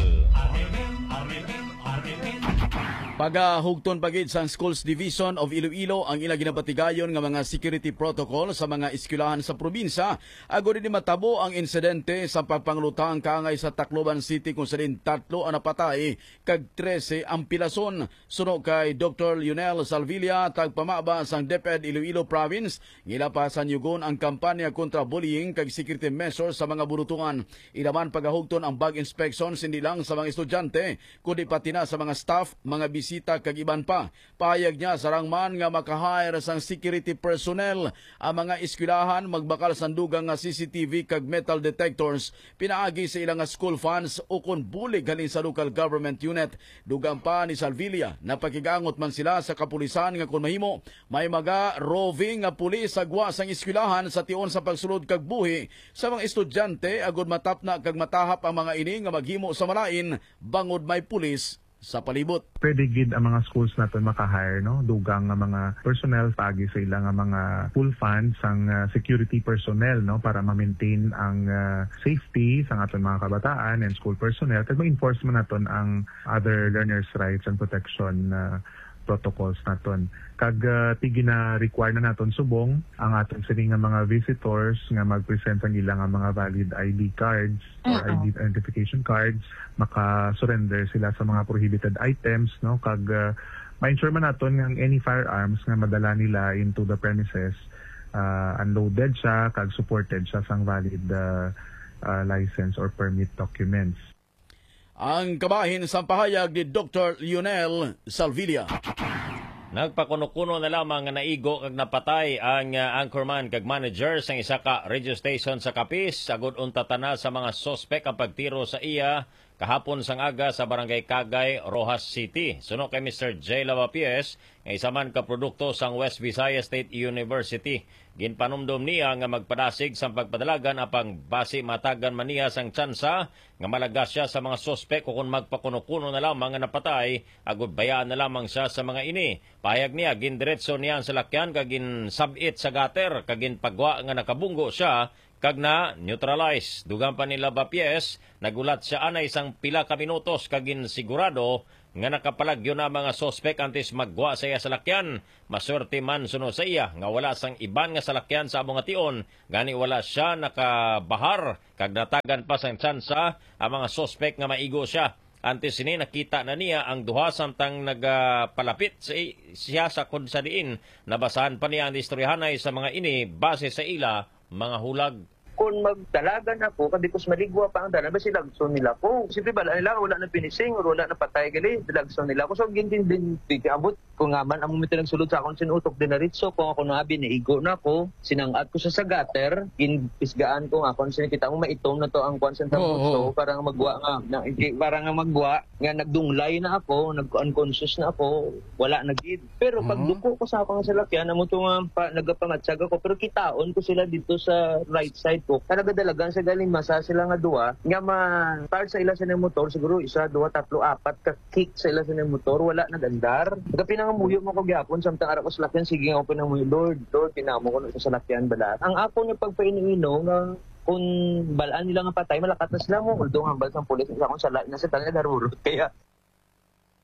Pagahugton pa gid sang Schools Division of Iloilo ang ila ginapatigayon nga mga security protocol sa mga eskwelahan sa probinsya, agod hindi matabo ang insidente sa pagpanglutang kaangay sa Tacloban City, kung sa diin tatlo ang napatay kag trese ang pilason. Suno kay Doktor Lionel Salvilla, tagpamaba sang DepEd Iloilo Province, nga ila pa sanyugon ang kampanya kontra bullying kag security measures sa mga burutuan. Ila man pagahugton ang bag inspections hindi lang sa mga estudyante, kundi pati na sa mga staff, mga bisita, kag iban pa. Pahayag niya, sarang man nga maka-hire sang security personnel ang mga eskwelahan, magbakal sang dugang nga C C T V kag metal detectors pinaagi sa ila nga school funds ukon bulig halin sa local government unit. Dugang pa ni Salvilla, napakig-angot man sila sa kapulisan nga kon mahimo, may maga roving nga pulis sa gwa sang eskwelahan sa tion sa pagsulod kag buhi sa mga estudyante, agud matapna kag matahap ang mga ini nga maghimo sa malain bangod may pulis sa palibot. Pwede gid ang mga schools naton maka-hire, no, dugang nga mga personnel paagi sa ila nga mga full fund sang, ah, security personnel, no, para ma-maintain ang, ah, safety sang aton mga kabataan and school personnel, kag ma-enforce man naton ang other learners' rights and protection, ah, protocols naton. Kag, ah, ti gina-require na naton subong ang aton sini nga mga visitors nga mag-present sang ila nga mga valid I D cards or Mm-mm. I D identification cards, maka-surrender sila sa mga prohibited items, no? Kag, ah, ma-ensure man naton nga ang any firearms nga madala nila into the premises, ah, unloaded siya kag supported siya sang valid, ah, ah, license or permit documents. Ang kabahin sang pahayag ni Doktor Lionel Salvilla. Nagpakuno-kuno na lamang nga naigo kag napatay ang, ah, anchorman kag manager sang isa ka radio station sa Capiz, agud untatan na sa mga suspek ang pagtiro sa iya kahapon sang aga sa Barangay Kagay, Roxas City. Suno kay Mister J Lavapies, nga isa man ka produkto sang West Visayas State University, ginpanumdom niya nga magpadasig sang pagpadalagan, apang basi matagan man niya sang tsansa nga malagas sia sa mga suspek, o kon magpakuno-kuno na lamang nga napatay, agud bayaan na lamang sia sa mga ini. Pahayag niya, gindiretso niya ang salakyan kag ginsab-it sa gutter kag ginpagwa nga nakabunggo sia kag na-neutralize. Dugang pa ni Lavapies, nagulat sia anay sang pila ka minutos kag ginsigurado nga nakapalagyo na ang mga suspek antes maggwa sa iya salakyan. Maswerte man suno sa iya nga wala sang iban nga salakyan sa amo nga tion, gani wala sia nakabahar kag natagan pa sang tsansa ang mga suspek nga maigo sia. Antes sini, nakita na niya ang duha samtang nagapalapit sa i-, siya sa kun sa diin nabasahan pa niya ang istoryahanay sa mga ini base sa ila mga hulag. Kung magdalagan ako, kag di ko maligwa pa ang dalan, basi lagson nila ko. Siyempre, bala nila, wala na pinising, or wala na patay, gali, lagson nila ko. So, gin-, gin-, gin-, abot ko nga man, amo mi tinagsulod sa akon sin utok, dinaritso ko, ako na abi, naigo na ko, sinang-at ko sa, sa gutter, ginpisgaan ko nga, kung sinikita mo, maitom na to ang kwan sa Oo, tambutso, oo. Para nga magwa nga, na, para nga magwa, nga nagdunglay na ako, nag-unconscious na ako, wala na gid. Pero pag Ah. duko ko sa akong salakyan, amo to nga pa, nagapamatsag ako, pero kitaon ko sila dito sa right side ko. Talaga dalagan sa galing masa sila nga duwa, nga ma-start sa ila sa motor, siguro isa, duwa, tatlo, apat ka kick sa ila sa motor, wala nag-andar. Nagapinangamuyo mo ko gyapon, samtang ara ko salakyan, sige nga ako pinangamuyo, "Lord, Lord, pinamo ko na sa salakyan bala." Ang ako nga pagpaino-ino nga Kung balaan nila nga patay, malakat na sila mo. Although hambal sang pulis, sa akong sala, nasa tanay darurot. Kaya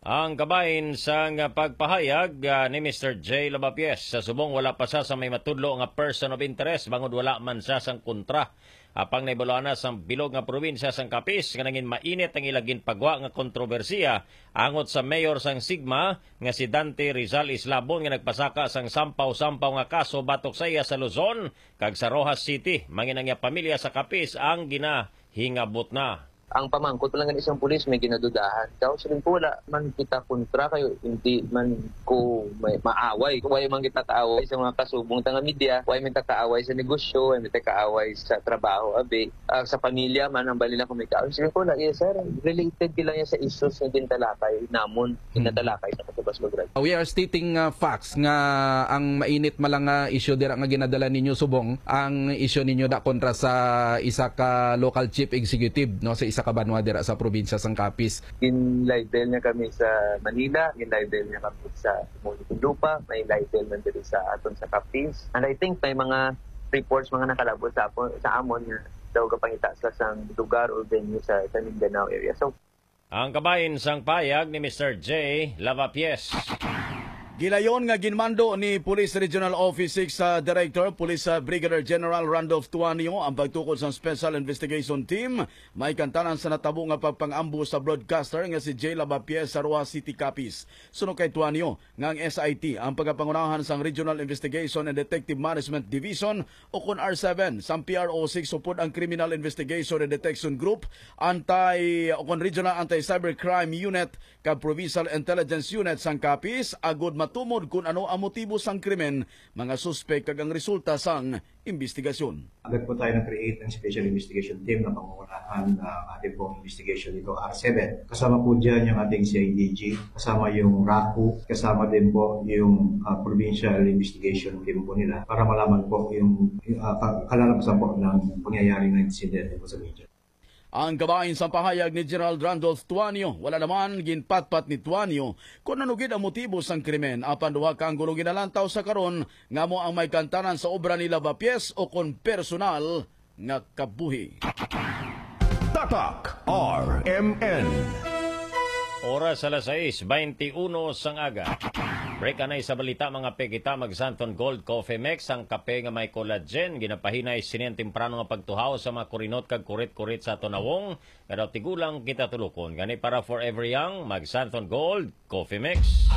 Ang kabahin sang pagpahayag, ah, ni Mister J Lavapies, sa subong wala pa sa, sa may matudlo nga person of interest, bangod wala man sa sang kontra. Apang naibaluan na sang bilog nga probinsya sang Capiz nga nangin mainit ang ila ginpagwa nga kontrobersiya angot sa mayor sang Sigma nga si Dante Rizal Islabon, nga nagpasaka sang sampaw-sampaw nga kaso batok sa iya sa Luzon kag sa Roxas City. Mangin ang iya pamilya sa Capiz ang ginahingabot na. Ang pamangkot lang gani sang pulis, may ginadudahan. Daw siling ko, wala man kita kontra kayo, hindi man ko may maaway. Wala man kita kaaway sa mga kasubong ta nga media, wala man kita kaaway sa negosyo, wala man kita kaaway sa trabaho, abi. Ah, sa pamilya man, ang bali lang kung may kaaway. Siling ko, wala, yes, sir. Related lang yan sa issues nga gintalakay namon, Hmm. ginatalakay sa Katubas Lugar. We are stating, uh, facts nga ang mainit man lang nga issue dira nga ginadala ninyo subong, ang issue ninyo da kontra sa isa ka local chief executive, no, sa isa ka banwa dira sa probinsya sang Capiz. Gin-libel niya kami sa Manila, gin-libel niya kami sa Muntinlupa, may libel man diri sa aton sa Capiz. And I think may mga reports, mga nakalabot sa, apo- sa amon nga daw gapangita sila sa lugar or venue sa, sa Mindanao area. So, Ang kabahin sang payag ni Mister J Lavapies. Gilayon nga ginmando ni Police Regional Office six, ah, Director Police, ah, Brigadier General Randolph Tuanio ang pagtukod sang Special Investigation Team may kantanan sa natabo nga pagpang-ambush sa broadcaster nga si Jay Lavapies sa Roxas City, Capiz. Suno kay Tuanio, nga ang S I T ang pagapangunahan sang Regional Investigation and Detective Management Division o kon R seven sang P R O six upod ang Criminal Investigation and Detection Group, Anti, o kon Regional Anti-Cybercrime Unit kag Provincial Intelligence Unit sang Capiz agud matumod kon ano ang motibo sang krimen, mga suspek kag ang resulta sang imbestigasyon. Agad po tayo nag-create ng special investigation team na pangungunahan ng ating pong investigation dito, R seven. Kasama po dyan yung ating C I D G, kasama yung raku, kasama din po yung, ah, provincial investigation team po nila para malaman po yung, yung, ah, ka- kalalabasan po ng pangyayari ng insidente po sa media. Ang kabahin sa pahayag ni General Randolph Tuanio, wala naman ginpatpat ni Tuanio kung ano gid ang motibo sang krimen, apan duha ka anggulo ginalantaw sa karon nga amo ang may kantanan sa obra ni Lavapies o kon personal nga kabuhi. Tatak R M N. Oras alas sais beintiuno sang aga. Break anay sa balita, mga pe, kita mag Santon Gold Coffee Mix, ang kape nga may collagen, ginapahinay sinin temprano nga pagtuhaw sa mga kurinot kag kurit-kurit sa aton nawong, nga daw tigulang kita tulukon. Gani para forever young, mag Santon Gold Coffee Mix.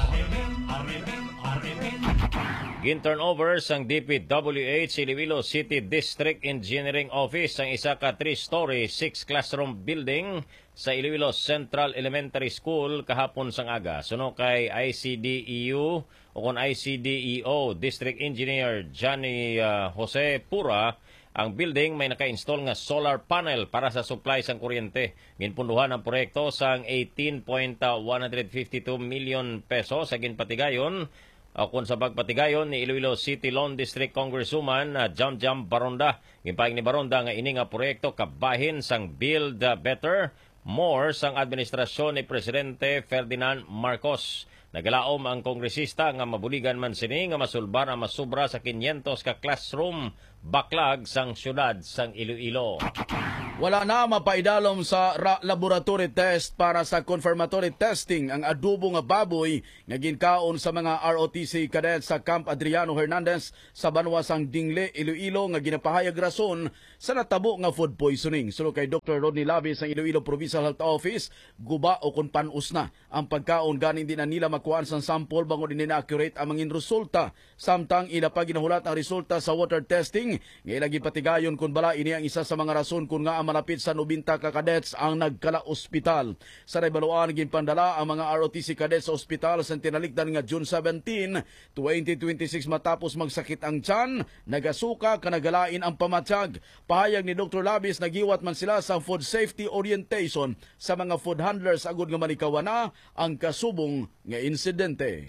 Gin-turnover sang D P W H Iloilo City District Engineering Office ang isa ka three-story, six-classroom building sa Iloilo Central Elementary School kahapon sang aga. Suno kay I C D E U o kon I C D E O District Engineer Johnny, ah, Jose Pura, ang building may naka-install nga solar panel para sa supply sang kuryente. Ginpunduhan ang proyekto sang eighteen point one hundred fifty two million pesos sa ginpatigayon, o kon sa pagpatigayon ni Iloilo City Lone District Congresswoman, ah, Jamjam Baronda. Ginpahayag ni Baronda nga ini nga proyekto kabahin sang Build, ah, Better, More sang administrasyon ni Presidente Ferdinand Marcos. Nagalaom ang kongresista nga mabuligan man sini nga masulbar ang masobra sa quinientos ka classroom backlog sang siyudad sang Iloilo. Wala na mapaidalom sa ra-, laboratory test para sa confirmatory testing ang adobo nga baboy nga ginkaon sa mga R O T C cadets sa Camp Adriano Hernandez sa banwa sang Dingle, Iloilo, nga ginapahayag rason sa natabo nga food poisoning. Suno kay Doktor Rodney Labi sang Iloilo Provincial Health Office, guba o kon pan-os na ang pagkaon, gani hindi na nila makuhaan sang sample bangod hindi na accurate ang mangin resulta. Samtang ila pa ginahulat ang resulta sa water testing nga ila ginpatigayon kon bala ini ang isa sa mga rason kon ngaa malapit sa nobenta ka cadets ang nagkala-ospital. Sa naibaluan, ginpandala ang mga R O T C cadets sa ospital sa tinalikdan nga June seventeen, twenty twenty-six matapos magsakit ang tiyan, nagasuka, kag nagalain ang pamatyag. Pahayag ni Doktor Labis, nagiwat man sila sa food safety orientation sa mga food handlers agud nga malikawan na ang kasubong nga insidente.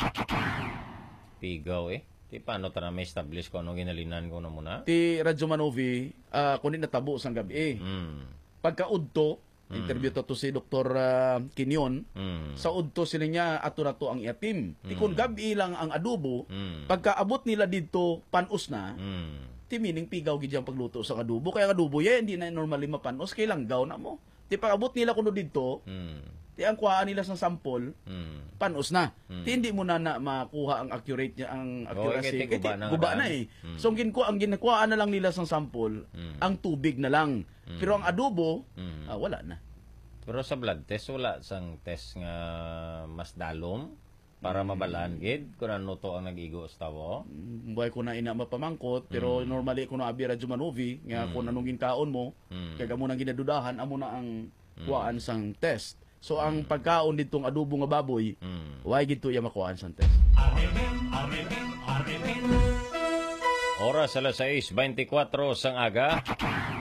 Pigaw, eh. Ti paano ta na ma-establish kung ano ginhalinan ko na muna? Ti Radyo Manovi, ah, kundi natabo sang gabi. Mm. Pagkaudto, Mm. interview ta to si Doktor, ah, Kinyon. Mm. Sa udto sila niya, ato na to ang iya team. Ti kun Mm. gabi lang ang adobo, Mm. pagkaabot nila didto, pan-os na. Mm. Ti meaning pigaw gid ang pagluto sa adobo. Kaya ang adobo, ya, hindi na normally mapanos, kay langgaw na mo. Ti pag-abot nila kuno didto, Mm. ti ang kuhaan nila sa sample, Mm. panos na. Mm. Ti hindi mo na, na makuha ang accurate niya, ang Oh, accuracy. kay ti Kay ti guba na guba nga na daan. eh. Mm. So, ang ginkuha, ang ginakuhaan na lang nila sa sample, Mm. ang tubig na lang. Mm. Pero ang adobo, Mm. ah, wala na. Pero sa blood test, wala sang test nga mas dalom para Mm. mabalaan gid kung ano to ang nag-igo sa tawo? Mm, buhay ko na ina mapamangkot, pero Mm. normally ko na abi Radyo Manovi nga Mm. kung anong ginkaon mo, Mm. kag amo nang ginadudahan, amo na ang Mm. kuwaan sang test. So, ang Mm. pagkaon ditong adobo nga baboy, Mm. why gid to iya makuhaan sang test? Oras alas sais beintikwatro sang aga.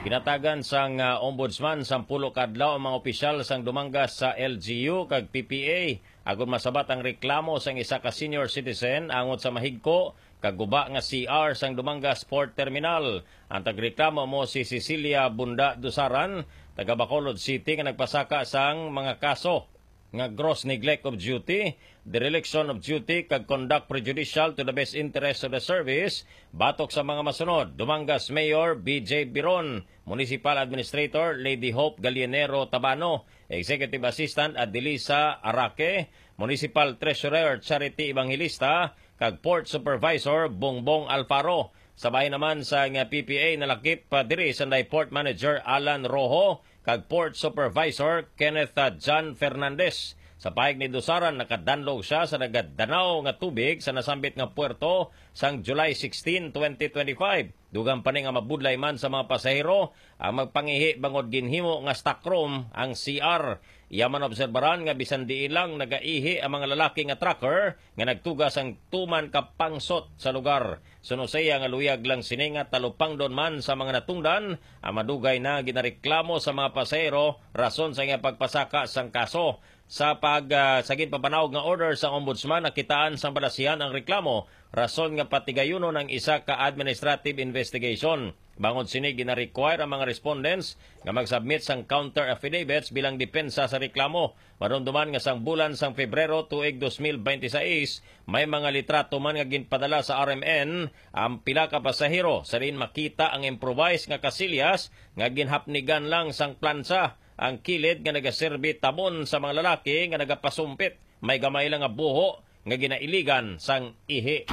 Ginatagan sang, ah, Ombudsman sang pulo ka adlaw ang mga opisyal sang Dumangas sa L G U kag P P A agod masabat ang reklamo sang isa ka senior citizen angot sa mahigko kag guba nga C R sang Dumangas Port Terminal. Ang tagreklamo mo si Cecilia Bunda Dusaran, taga Bacolod City, nga nagpasaka sang mga kaso nga gross neglect of duty, dereliction of duty, kag conduct prejudicial to the best interest of the service, batok sa mga masunod: Dumangas Mayor B J Biron, Municipal Administrator Lady Hope Galianero Tabano, Executive Assistant Adelisa Araque, Municipal Treasurer Charity Evangelista, kag Port Supervisor Bongbong Alfaro. Sa bahin naman sa nga P P A, nalakip pa diri sanday Port Manager Alan Rojo kag Port Supervisor Kenneth, ah, John Fernandez. Sa pahayag ni Dusaran, nakadanlog siya sa nagadanaw nga tubig sa nasambit nga puerto sang July sixteen, twenty twenty-five. Dugang pa ni nga mabudlay man sa mga pasahero ang magpangihi bangod ginhimo nga stockroom ang C R. Iya man obserbaran nga bisan diin lang nagaihi ang mga lalaki nga trucker nga nagtuga sang tuman ka pangsot sa lugar. Suno sa iya nga luyag lang sini nga talupangdon man sa mga natungdan ang madugay na ginareklamo sa mga pasahero rason sa iya pagpasaka sang kaso. Sa pag, ah, sa ginpapanawag nga order sang Ombudsman, nakitaan sang balasihan ang reklamo rason nga patigayunon ang isa ka administrative investigation. Bangod sini, gina-require ang mga respondents nga mag-submit sang counter affidavits bilang depensa sa reklamo. Madumduman nga sang bulan sang Febrero tuig dos mil beintiseis, may mga litrato man nga ginpadala sa R M N ang pila ka pasahero. Sa diin makita ang improvised nga kasilyas nga ginhapnigan lang sang plansa, ang kilid nga nagaserbi tabon sa mga lalaki nga nagapasumpit. May gamay lang nga buho nga ginailigan sang ihi.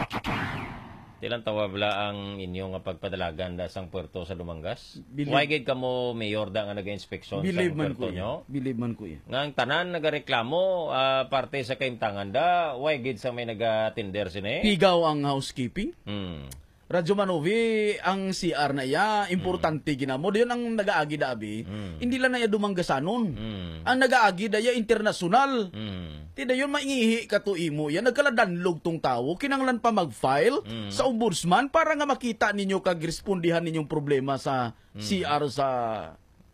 Tilang tawag bala ang inyo nga pagpadalagan da sang puerto sa Dumangas? Believe Why gid kamo, Mayor, da nga nag-inspeksyon Believe sang man puerto ko nyo? Iya. Believe man ko iya. Nga ang tanan nagareklamo, ah, parte sa kaimtangan da, why gid sa may nagatender sini? Pigaw ang housekeeping? Hmm. Radyo Manovi, ang C R na iya, importante Mm. ginamo. Dayon ang nagaagi da abi, Mm. hindi lang na iya Dumanggasanon. Mm. Ang nagaagi da iya internasyonal. Mm. Ti dayon maingihi ka to imo iya, nagkaladanlog tong tawo, kinahanglan pa mag-file Mm. sa ombudsman para nga makita ninyo kag respondihan ninyong problema sa Mm. C R sa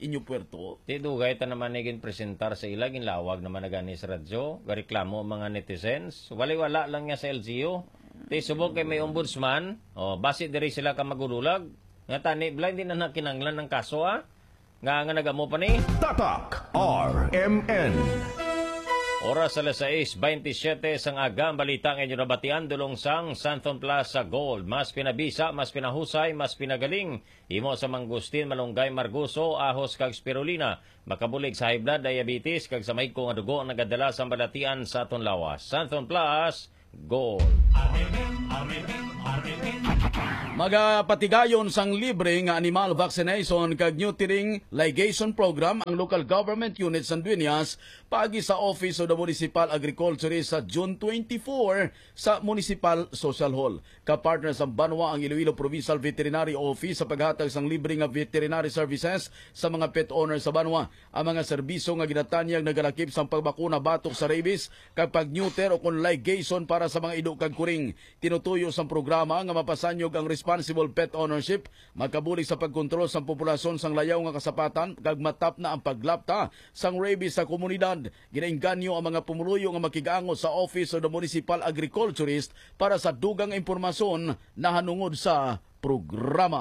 inyo puerto. Ti dugay ta naman ni ginpresentar sa ila, ginlawag naman na gani sa radyo, gareklamo ang mga netizens. Wali-wala lang niya sa L G U. Ti subong kay may ombudsman, oh, basi diri sila ka magudulag. Nga tani, bala, hindi na nakinanglan ang kaso, ah. Nga, nga nagamo pa ni. Tatak R M N. Oras alas sais beintisyete sang aga, ang balita nga inyo nabatian dulong sang Santhon Plaza Gold. Mas pinabisa, mas pinahusay, mas pinagaling. Himo sa mangustin, malunggay, margoso, ahos, kag spirulina. Makabulig sa high blood, diabetes, kag sa mahigko nga dugo ang nagadala sa balatian sa aton lawas. Santhon Plus, Gold. Magapatigayon sang libre nga animal vaccination kag neutering ligation program ang local government unit sa Dueñas paagi sa Office of the Municipal Agriculturist sa June twenty-four sa Municipal Social Hall. Ka-partner sang banwa ang Iloilo Provincial Veterinary Office sa paghatag sang libre nga veterinary services sa mga pet owner sa banwa. Ang mga serbisyo nga ginatanyag nagalakip sang pagbakuna batok sa rabies kag pag-neuter o kon ligation para sa mga ido kag kuring. Tinutuyo sang programa nga mapasanyog ang responsible pet ownership, makabulig sa pagkontrol sang populasyon sang layaw nga kasapatan kag matapna ang paglapta sang rabies sa komunidad. Ginaengganyo ang mga pumuluyo nga makig-angot sa Office of the Municipal Agriculturist para sa dugang nga impormasyon nahanungod sa programa.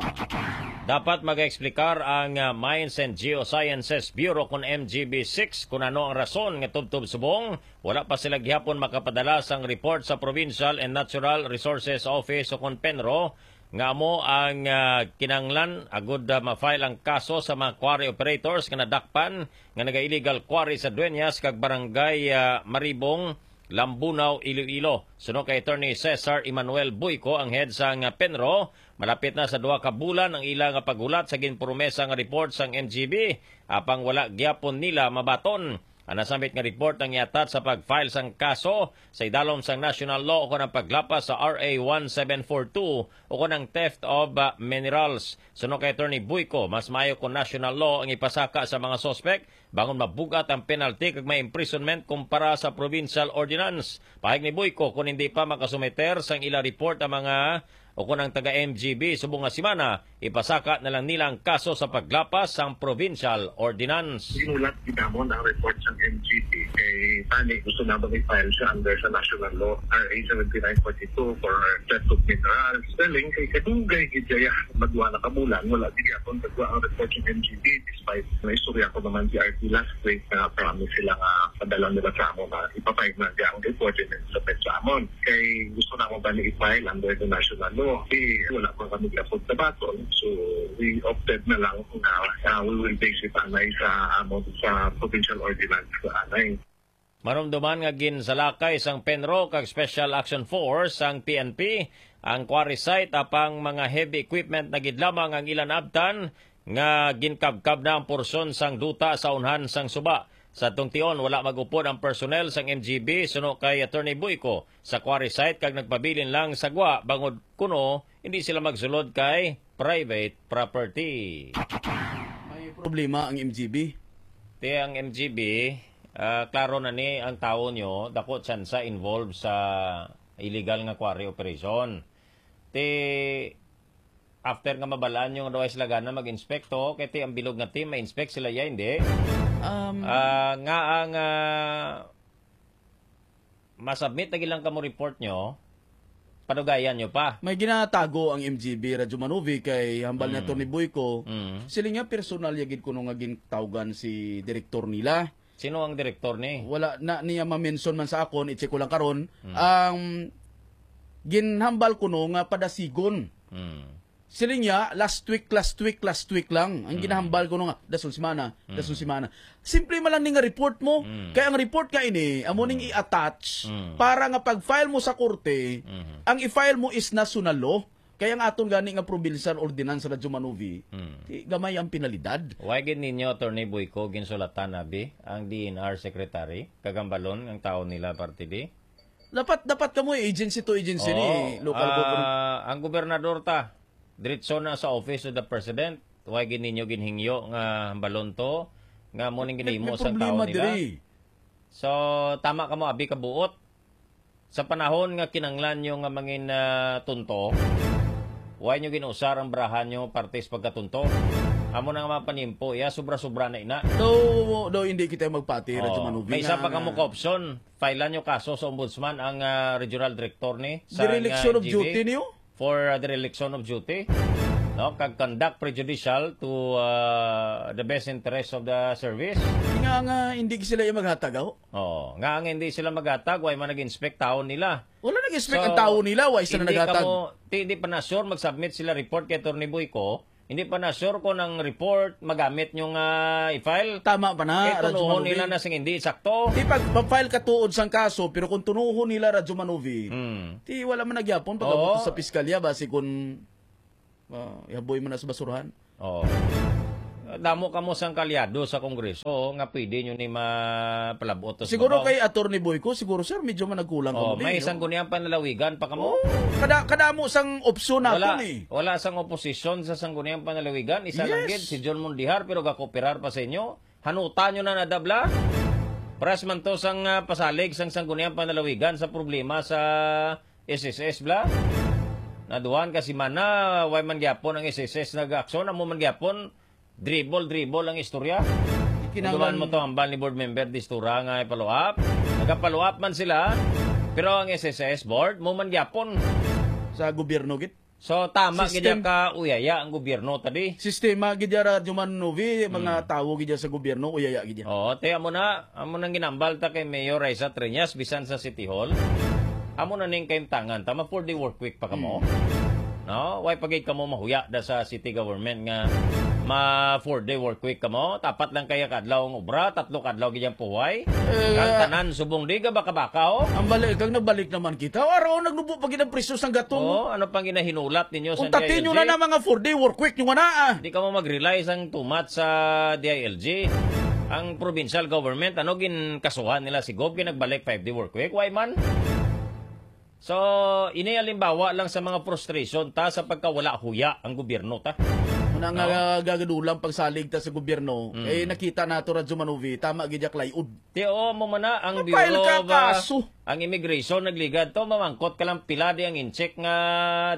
Dapat mag-eksplikar ang, ah, Mines and Geosciences Bureau, kon M G B six, kung ano ang rason nga tubtob subong wala pa sila gihapon makapadala sang report sa Provincial and Natural Resources Office o kon PENRO nga amo ang, ah, kinahanglan agud, ah, ma-file ang kaso sa mga quarry operators nga nadakpan nga naga-illegal quarry sa Dueñas kag Barangay, ah, Maribong, Lambunao, Iloilo. Suno kay Attorney Cesar Emmanuel Buico, ang head sang, ah, PENRO, malapit na sa duha ka bulan ang ila nga paghulat sa ginpromesa nga report sang M G B, apang wala gyapon nila mabaton. Ang nasambit nga report ang i-attach sa pag-file sang kaso sa idalom sang national law ukon ang paglapas sa R A one seven four two ukon ang theft of, uh, minerals. Suno kay Attorney Buico, mas maayo kung national law ang ipasaka sa mga suspek bangon mabug-at ang penalty kag may imprisonment kumpara sa provincial ordinance. Pahayag ni Buico, kung hindi pa makasumiter sang ila report ang mga o kon ang taga M G B subong nga semana, ipasaka na lang nila ang kaso sa paglapas sang provincial ordinance. Ginulat gid namon ang report sang M G B kay tani gusto namon i-file siya under sa national law, R A seventy-nine forty-two for theft of minerals. Galing kay kadugay gid kaya, madwa na ka bulan, wala gid gyapon pagwa ang report sang M G B, despite na istorya ko naman si R T last week na promise sila nga padala nila sa amo na ipapayag na ang report and then submit sa amon. Kay gusto na mo ba ni i-file under the national law? Di, wala pa kami gapod sa baton. So, we opted na lang na, ah, we will base it anay sa amo sa provincial ordinance sa anay. Marumduman nga ginsalakay sang PENRO kag Special Action Force sang P N P ang quarry site apang mga heavy equipment na gid lamang ang ilan abtan nga ginkabkab na ang porsyon sang duta sa unhan sang suba. Sa tingtion, wala mag-upod ang personnel sang M G B suno kay Attorney Buico sa quarry site kag nagpabilin lang sa gwa bangod kuno hindi sila magsulod kay private property. May problema ang M G B. Te, ang M G B, ah, klaro na ni ang tawo nyo, dako tsansa involved sa illegal nga quarry operation. Te, after nga mabalaan nyo nga daw ay sila gana mag-inspect to, kay ti ang bilog nga team, ma-inspect sila ya, hindi? Um, Ah, nga ang, ah, masubmit na gilang kamo report nyo, padugayan nyo pa. May ginatago ang M G B Radyo Manuvi kay hambal ni Mm. Attorney Boyco. Mm. Sila nga personal ya gid kuno nga gintawgan si direktor nila. Sino ang direktor ni? Wala na niya ma-mention man sa akon, i-check ko lang karon. Mm. Ang ginhambal kuno nga padasigon. Mm. Siling niya, last week, last week, last week lang. Ang Mm. ginahambal ko nga, dason semana, dason Mm. semana. Simple man lang ni nga report mo. Mm. Kaya ang report nga ini, amo ning Mm. i-attach Mm. para nga pag-file mo sa korte, Mm. ang i-file mo is national law. Kaya ang aton gani nga provincial ordinance sa Radyo Manuvi, Mm. di gamay ang penalidad. Why gid ninyo, Attorney Boyco, ginsulatan abi ang D N R secretary, kagambalon ang tao nila parte di? Dapat, dapat kamo agency to agency ni Oo, local ah, government. Ang gobernador ta, diretso na sa Office of the President. Why gid ninyo ginhingyo nga hambalon to, nga mo ning May, ginhimo may sa problema taon nila? Diri. So, tama ka mo, abi ka buot. Sa panahon nga kinanglan nyo nga mangin, ah, tunto, why nyo ginusar ang barahan nyo parte sa pagkatunto? Amo na nga mga panimpo, ya, sobra-sobra na ina. Daw, daw hindi kita magpati, Radyo Oo. Manubi, May isa nga, pa kamo nga ka option. File nyo kaso sa ombudsman ang, ah, regional director ni sa, Dereliction nga, of G V. Duty niyo? For, uh, dereliction of duty, no? Kag conduct prejudicial to, uh, the best interest of the service. Nga, nga, hindi sila yung maghatag, aho? Oo. Nga ang hindi sila maghatag, way man nag-inspect taon nila. Wala nag-inspect So, ang tao nila, way sila hindi naghatag. Kamo, di, di pa na sure, mag-submit sila report kay Attorney Boyco. Hindi pa na sure kung ang report magamit nyo nga i-file. Tama pa na, Eh, Radyo tunuhon Manubi. Nila na sing hindi sakto. Di pag, pag-file ka tuod sang kaso, pero kung tunuhon nila, Radyo Manubi, Hmm. di wala man nagyapon pag Oo. abot sa piskalya, basi kung, ah, ihaboy mo na sa basurahan. Oo. Damo kamo sang kalyado sa Kongreso nga pwede nyo ni mapalabot sa Siguro babaw. Kay Attorney Boyco, siguro, sir, medyo managkulang Oh, kamo may din, no? Sangguniang Panlalawigan pa kamo. Oh, kada, kadamo sang opsyon Wala, nato ni. Wala sang oposisyon sa Sangguniang Panlalawigan. Isa lang Yes. Gid, si John Mondejar, pero gakooperar pa sa inyo. Hanuta nyo na nadabla. Pres man to sang, ah, pasalig sang Sangguniang Panlalawigan sa problema sa S S S, bla. Naduhan ka semana, way man gyapon ang S S S nag-aksyon, amo man gyapon, dribble, dribble ang istorya. Kinahanglan Naduhan mo to, hambal ni Board Member Distura nga i-follow up. Nagpa-follow up man sila, pero ang S S S Board, mo man gyapon. Sa gobyerno, gid. So, tama gid System. Ka uyaya ang gobyerno, tadi. Sistema gid ya, Radyo Manubi, mga Hmm. tawo gid ya sa gobyerno, uyaya gid ya. Oo, te, amo na, amo nang ginambal ta kay Mayor Raisa Treñas, bisan sa City Hall. Amo na ning kaimtangan, tama, four-day work week pa kamo. Hmm. No? Why pa gid kamo mahuya da sa city government nga ma four-day work week kamo? Tapat lang kaya ka adlaw ang obra, tatlo ka adlaw gid ang puway. Eh, Ang tanan subong di ka baka-baka, oh. Ang balik, kag nagbalik naman kita. O, araw, nagnubo pa gid ang presyo sang gatong. Oh, ano pang ginahinulat ninyo sa Kung tatin nyo D I L G? Na na mga four-day work week nyo nga na, ah. Di ka mo mag-rely sang tumat sa D I L G. Ang provincial government, ano, ginkasuhan nila si Gob, kay nagbalik five-day work week. Why man? So, ini halimbawa lang sa mga frustration ta sa pagkawala huya ang gobyerno ta. Muna nga No? gagadulang pagsalig ta sa gobyerno, Mm. eh, nakita nato, Radyo Manuvi, tama gid yak layod. Ti, oo, mo man na, ang Mapile Bureau ka of, ah, kaso. Ang immigration nagligad to, mamangkot ka lang pila di ang incheck nga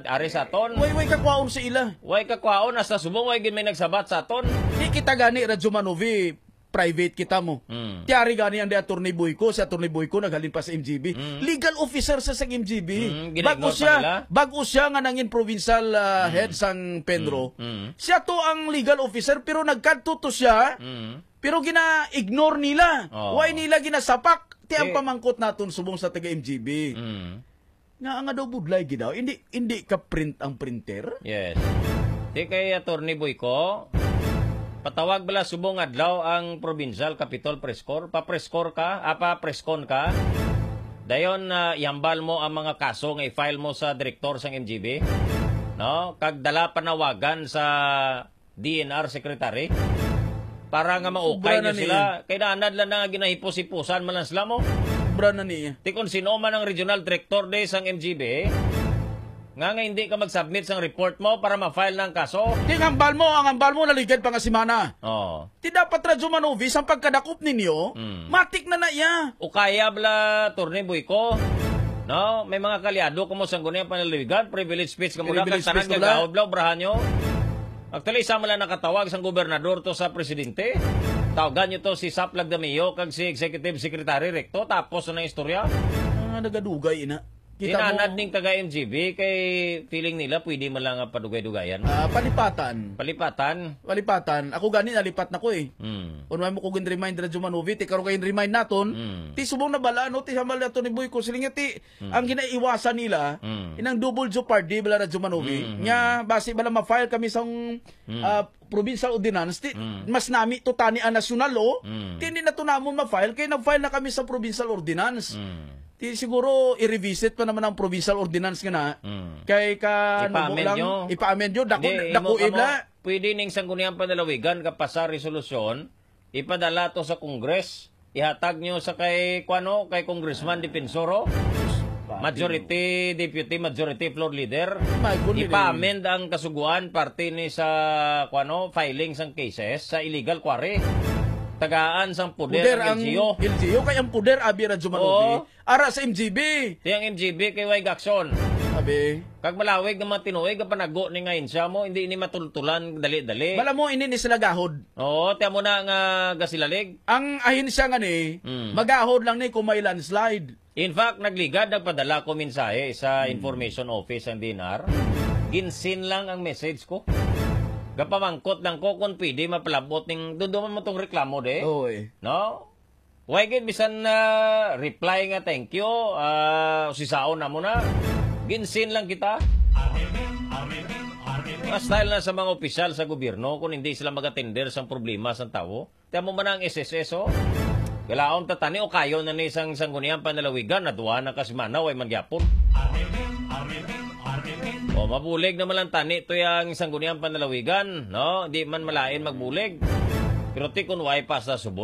ari sa aton. Way, way kakwaon sa ila. Way kakwaon, hasta subong, way gid may nagsabat sa aton. Di kita gani, Radyo Manuvi, private kita mo. Mm. Tiyari gani ang di Attorney Boyco, si Attorney Boyco naghalin pa sa M G B. Mm. Legal officer sa, sa M G B. Mm, Bago ginaingon pa siya, nila. bago siya nga nangin provincial, ah, Mm. head sang Penro. Mm, mm. Siya to ang legal officer, pero nagkadto to siya, Mm. pero gina-ignore nila. Oh. Why nila ginasapak? Ti ang Eh. pamangkot naton subong sa taga M G B. Mm. Nga, nga daw budlay gid daw. Hindi, hindi ka print ang printer? Yes. Di kay Attorney Boyco, patawag bala subong adlaw ang Provincial Capitol Press Corps? Pa-press corps ka? Ah, pa-press con ka? Dayon, ah, ihambal mo ang mga kaso nga i-file mo sa direktor sang M G B, no? Kag dala panawagan sa D N R secretary para nga maukay Sobra na niyo sila. niya. Kay naanad lang na nga ginahipos-hipusan man lang sila mo. Sobra na niya. Ti kung sino man ang regional director de sang M G B, nga, nga hindi ka mag-submit sang report mo para ma-file na ang kaso. Di ang hambal mo, ang hambal mo naligad pa nga semana. Oh. Ti dapat, Radyo Manuvi, ang pagkadakop ninyo, Mm. matik na na iya. O kaya bala, Attorney Boyco, no? May mga kaalyado kamo sa Sangguniang Panlalawigan, privilege speech kamo Privilege ka, tanan speech ka bala. gagawad bala, obrahan nyo. Actually, isa man lang nakatawag sang gobernador to sa presidente. Tawagan nyo to si Sap Lagdamio kag si Executive Secretary Recto, tapos na ang istorya. Ah, nagadugay, ina. Kita Inanad mo ning taga M G B kay feeling nila pwede man lang nga padugay-dugayan. Ah, palipatan. Palipatan? Palipatan. Ako gani nalipat na ko eh. Mm. Kung may mo ko gin-remind, Radyo Manuvi, ti karon kay remind naton, Mm. ti subong na bala, no, ti hambal nato ni Boy ko, siling nga ti, Mm. ang ginaiwasan nila, Mm. inang double jeopardy bala, Radyo Manuvi, Mm, mm. nga basi bala ma-file kami sa, Mm. ah, provincial ordinance, ti, Mm. mas nami to tani ang nasyonal, oh. Mm. Ti hindi na to namon ma-file, kay nag-file na kami sa provincial ordinance. Mm. Ti siguro i-revisit pa naman ang provincial ordinance nga na. Mm. Kay ka Ipa-amend nubo lang, nyo. ipa-amend nyo, dako, Hindi, dako imo kamo, ibla. pwede ning Sangguniang Panlalawigan kapasa resolusyon, ipadala to sa Congress, ihatag nyo sa kay, kuano, kay Congressman Defensor, oh. Pati. Majority, Deputy Majority Floor Leader. May gulo ni. Ipa-amend ang kasuguan parte ni sa, kuano, filing sang cases sa illegal quarry. Tagaan sang poder Poder ang ang L G U. L G U, kay ang poder, abi, Radyo Manuvi. Oo. Ara sa M G B. Ti ang M G B kay way gaksyon. Abi. Kag malawig nga mga tinuig nga panago ni nga ahensya mo, hindi ni matultulan dali-dali. Bala mo, ini ni sila gahod. Oo, ti amo na nga gasilalig. Ang ahensya nga ni, Mm. magahod lang ni kung may landslide. In fact, nagligad, nagpadala ko mensahe sa Mm. Information Office ang D N R. Ginsin lang ang message ko. Gapamangkot lang ko kung pwede mapalabot ning, duduman mo tong reklamo, de. Oo, eh. No? Why gid bisan na reply nga, "Thank you, ah, usisaon na mo na." Ginsin lang kita. Mga style na sa mga opisyal sa gobyerno kung hindi sila mag-atender sa problema sa tawo. Tiyan mo man ang S S S, oh. Kalaon ta tani o kayo na ni sang Sangguniang Panlalawigan, na duha na ka semana, way man gyapon. O, mabulig naman lang tani to yang Sangguniang Panlalawigan, no? Di man malain magbulig. Pero ti kun way pa sa subong.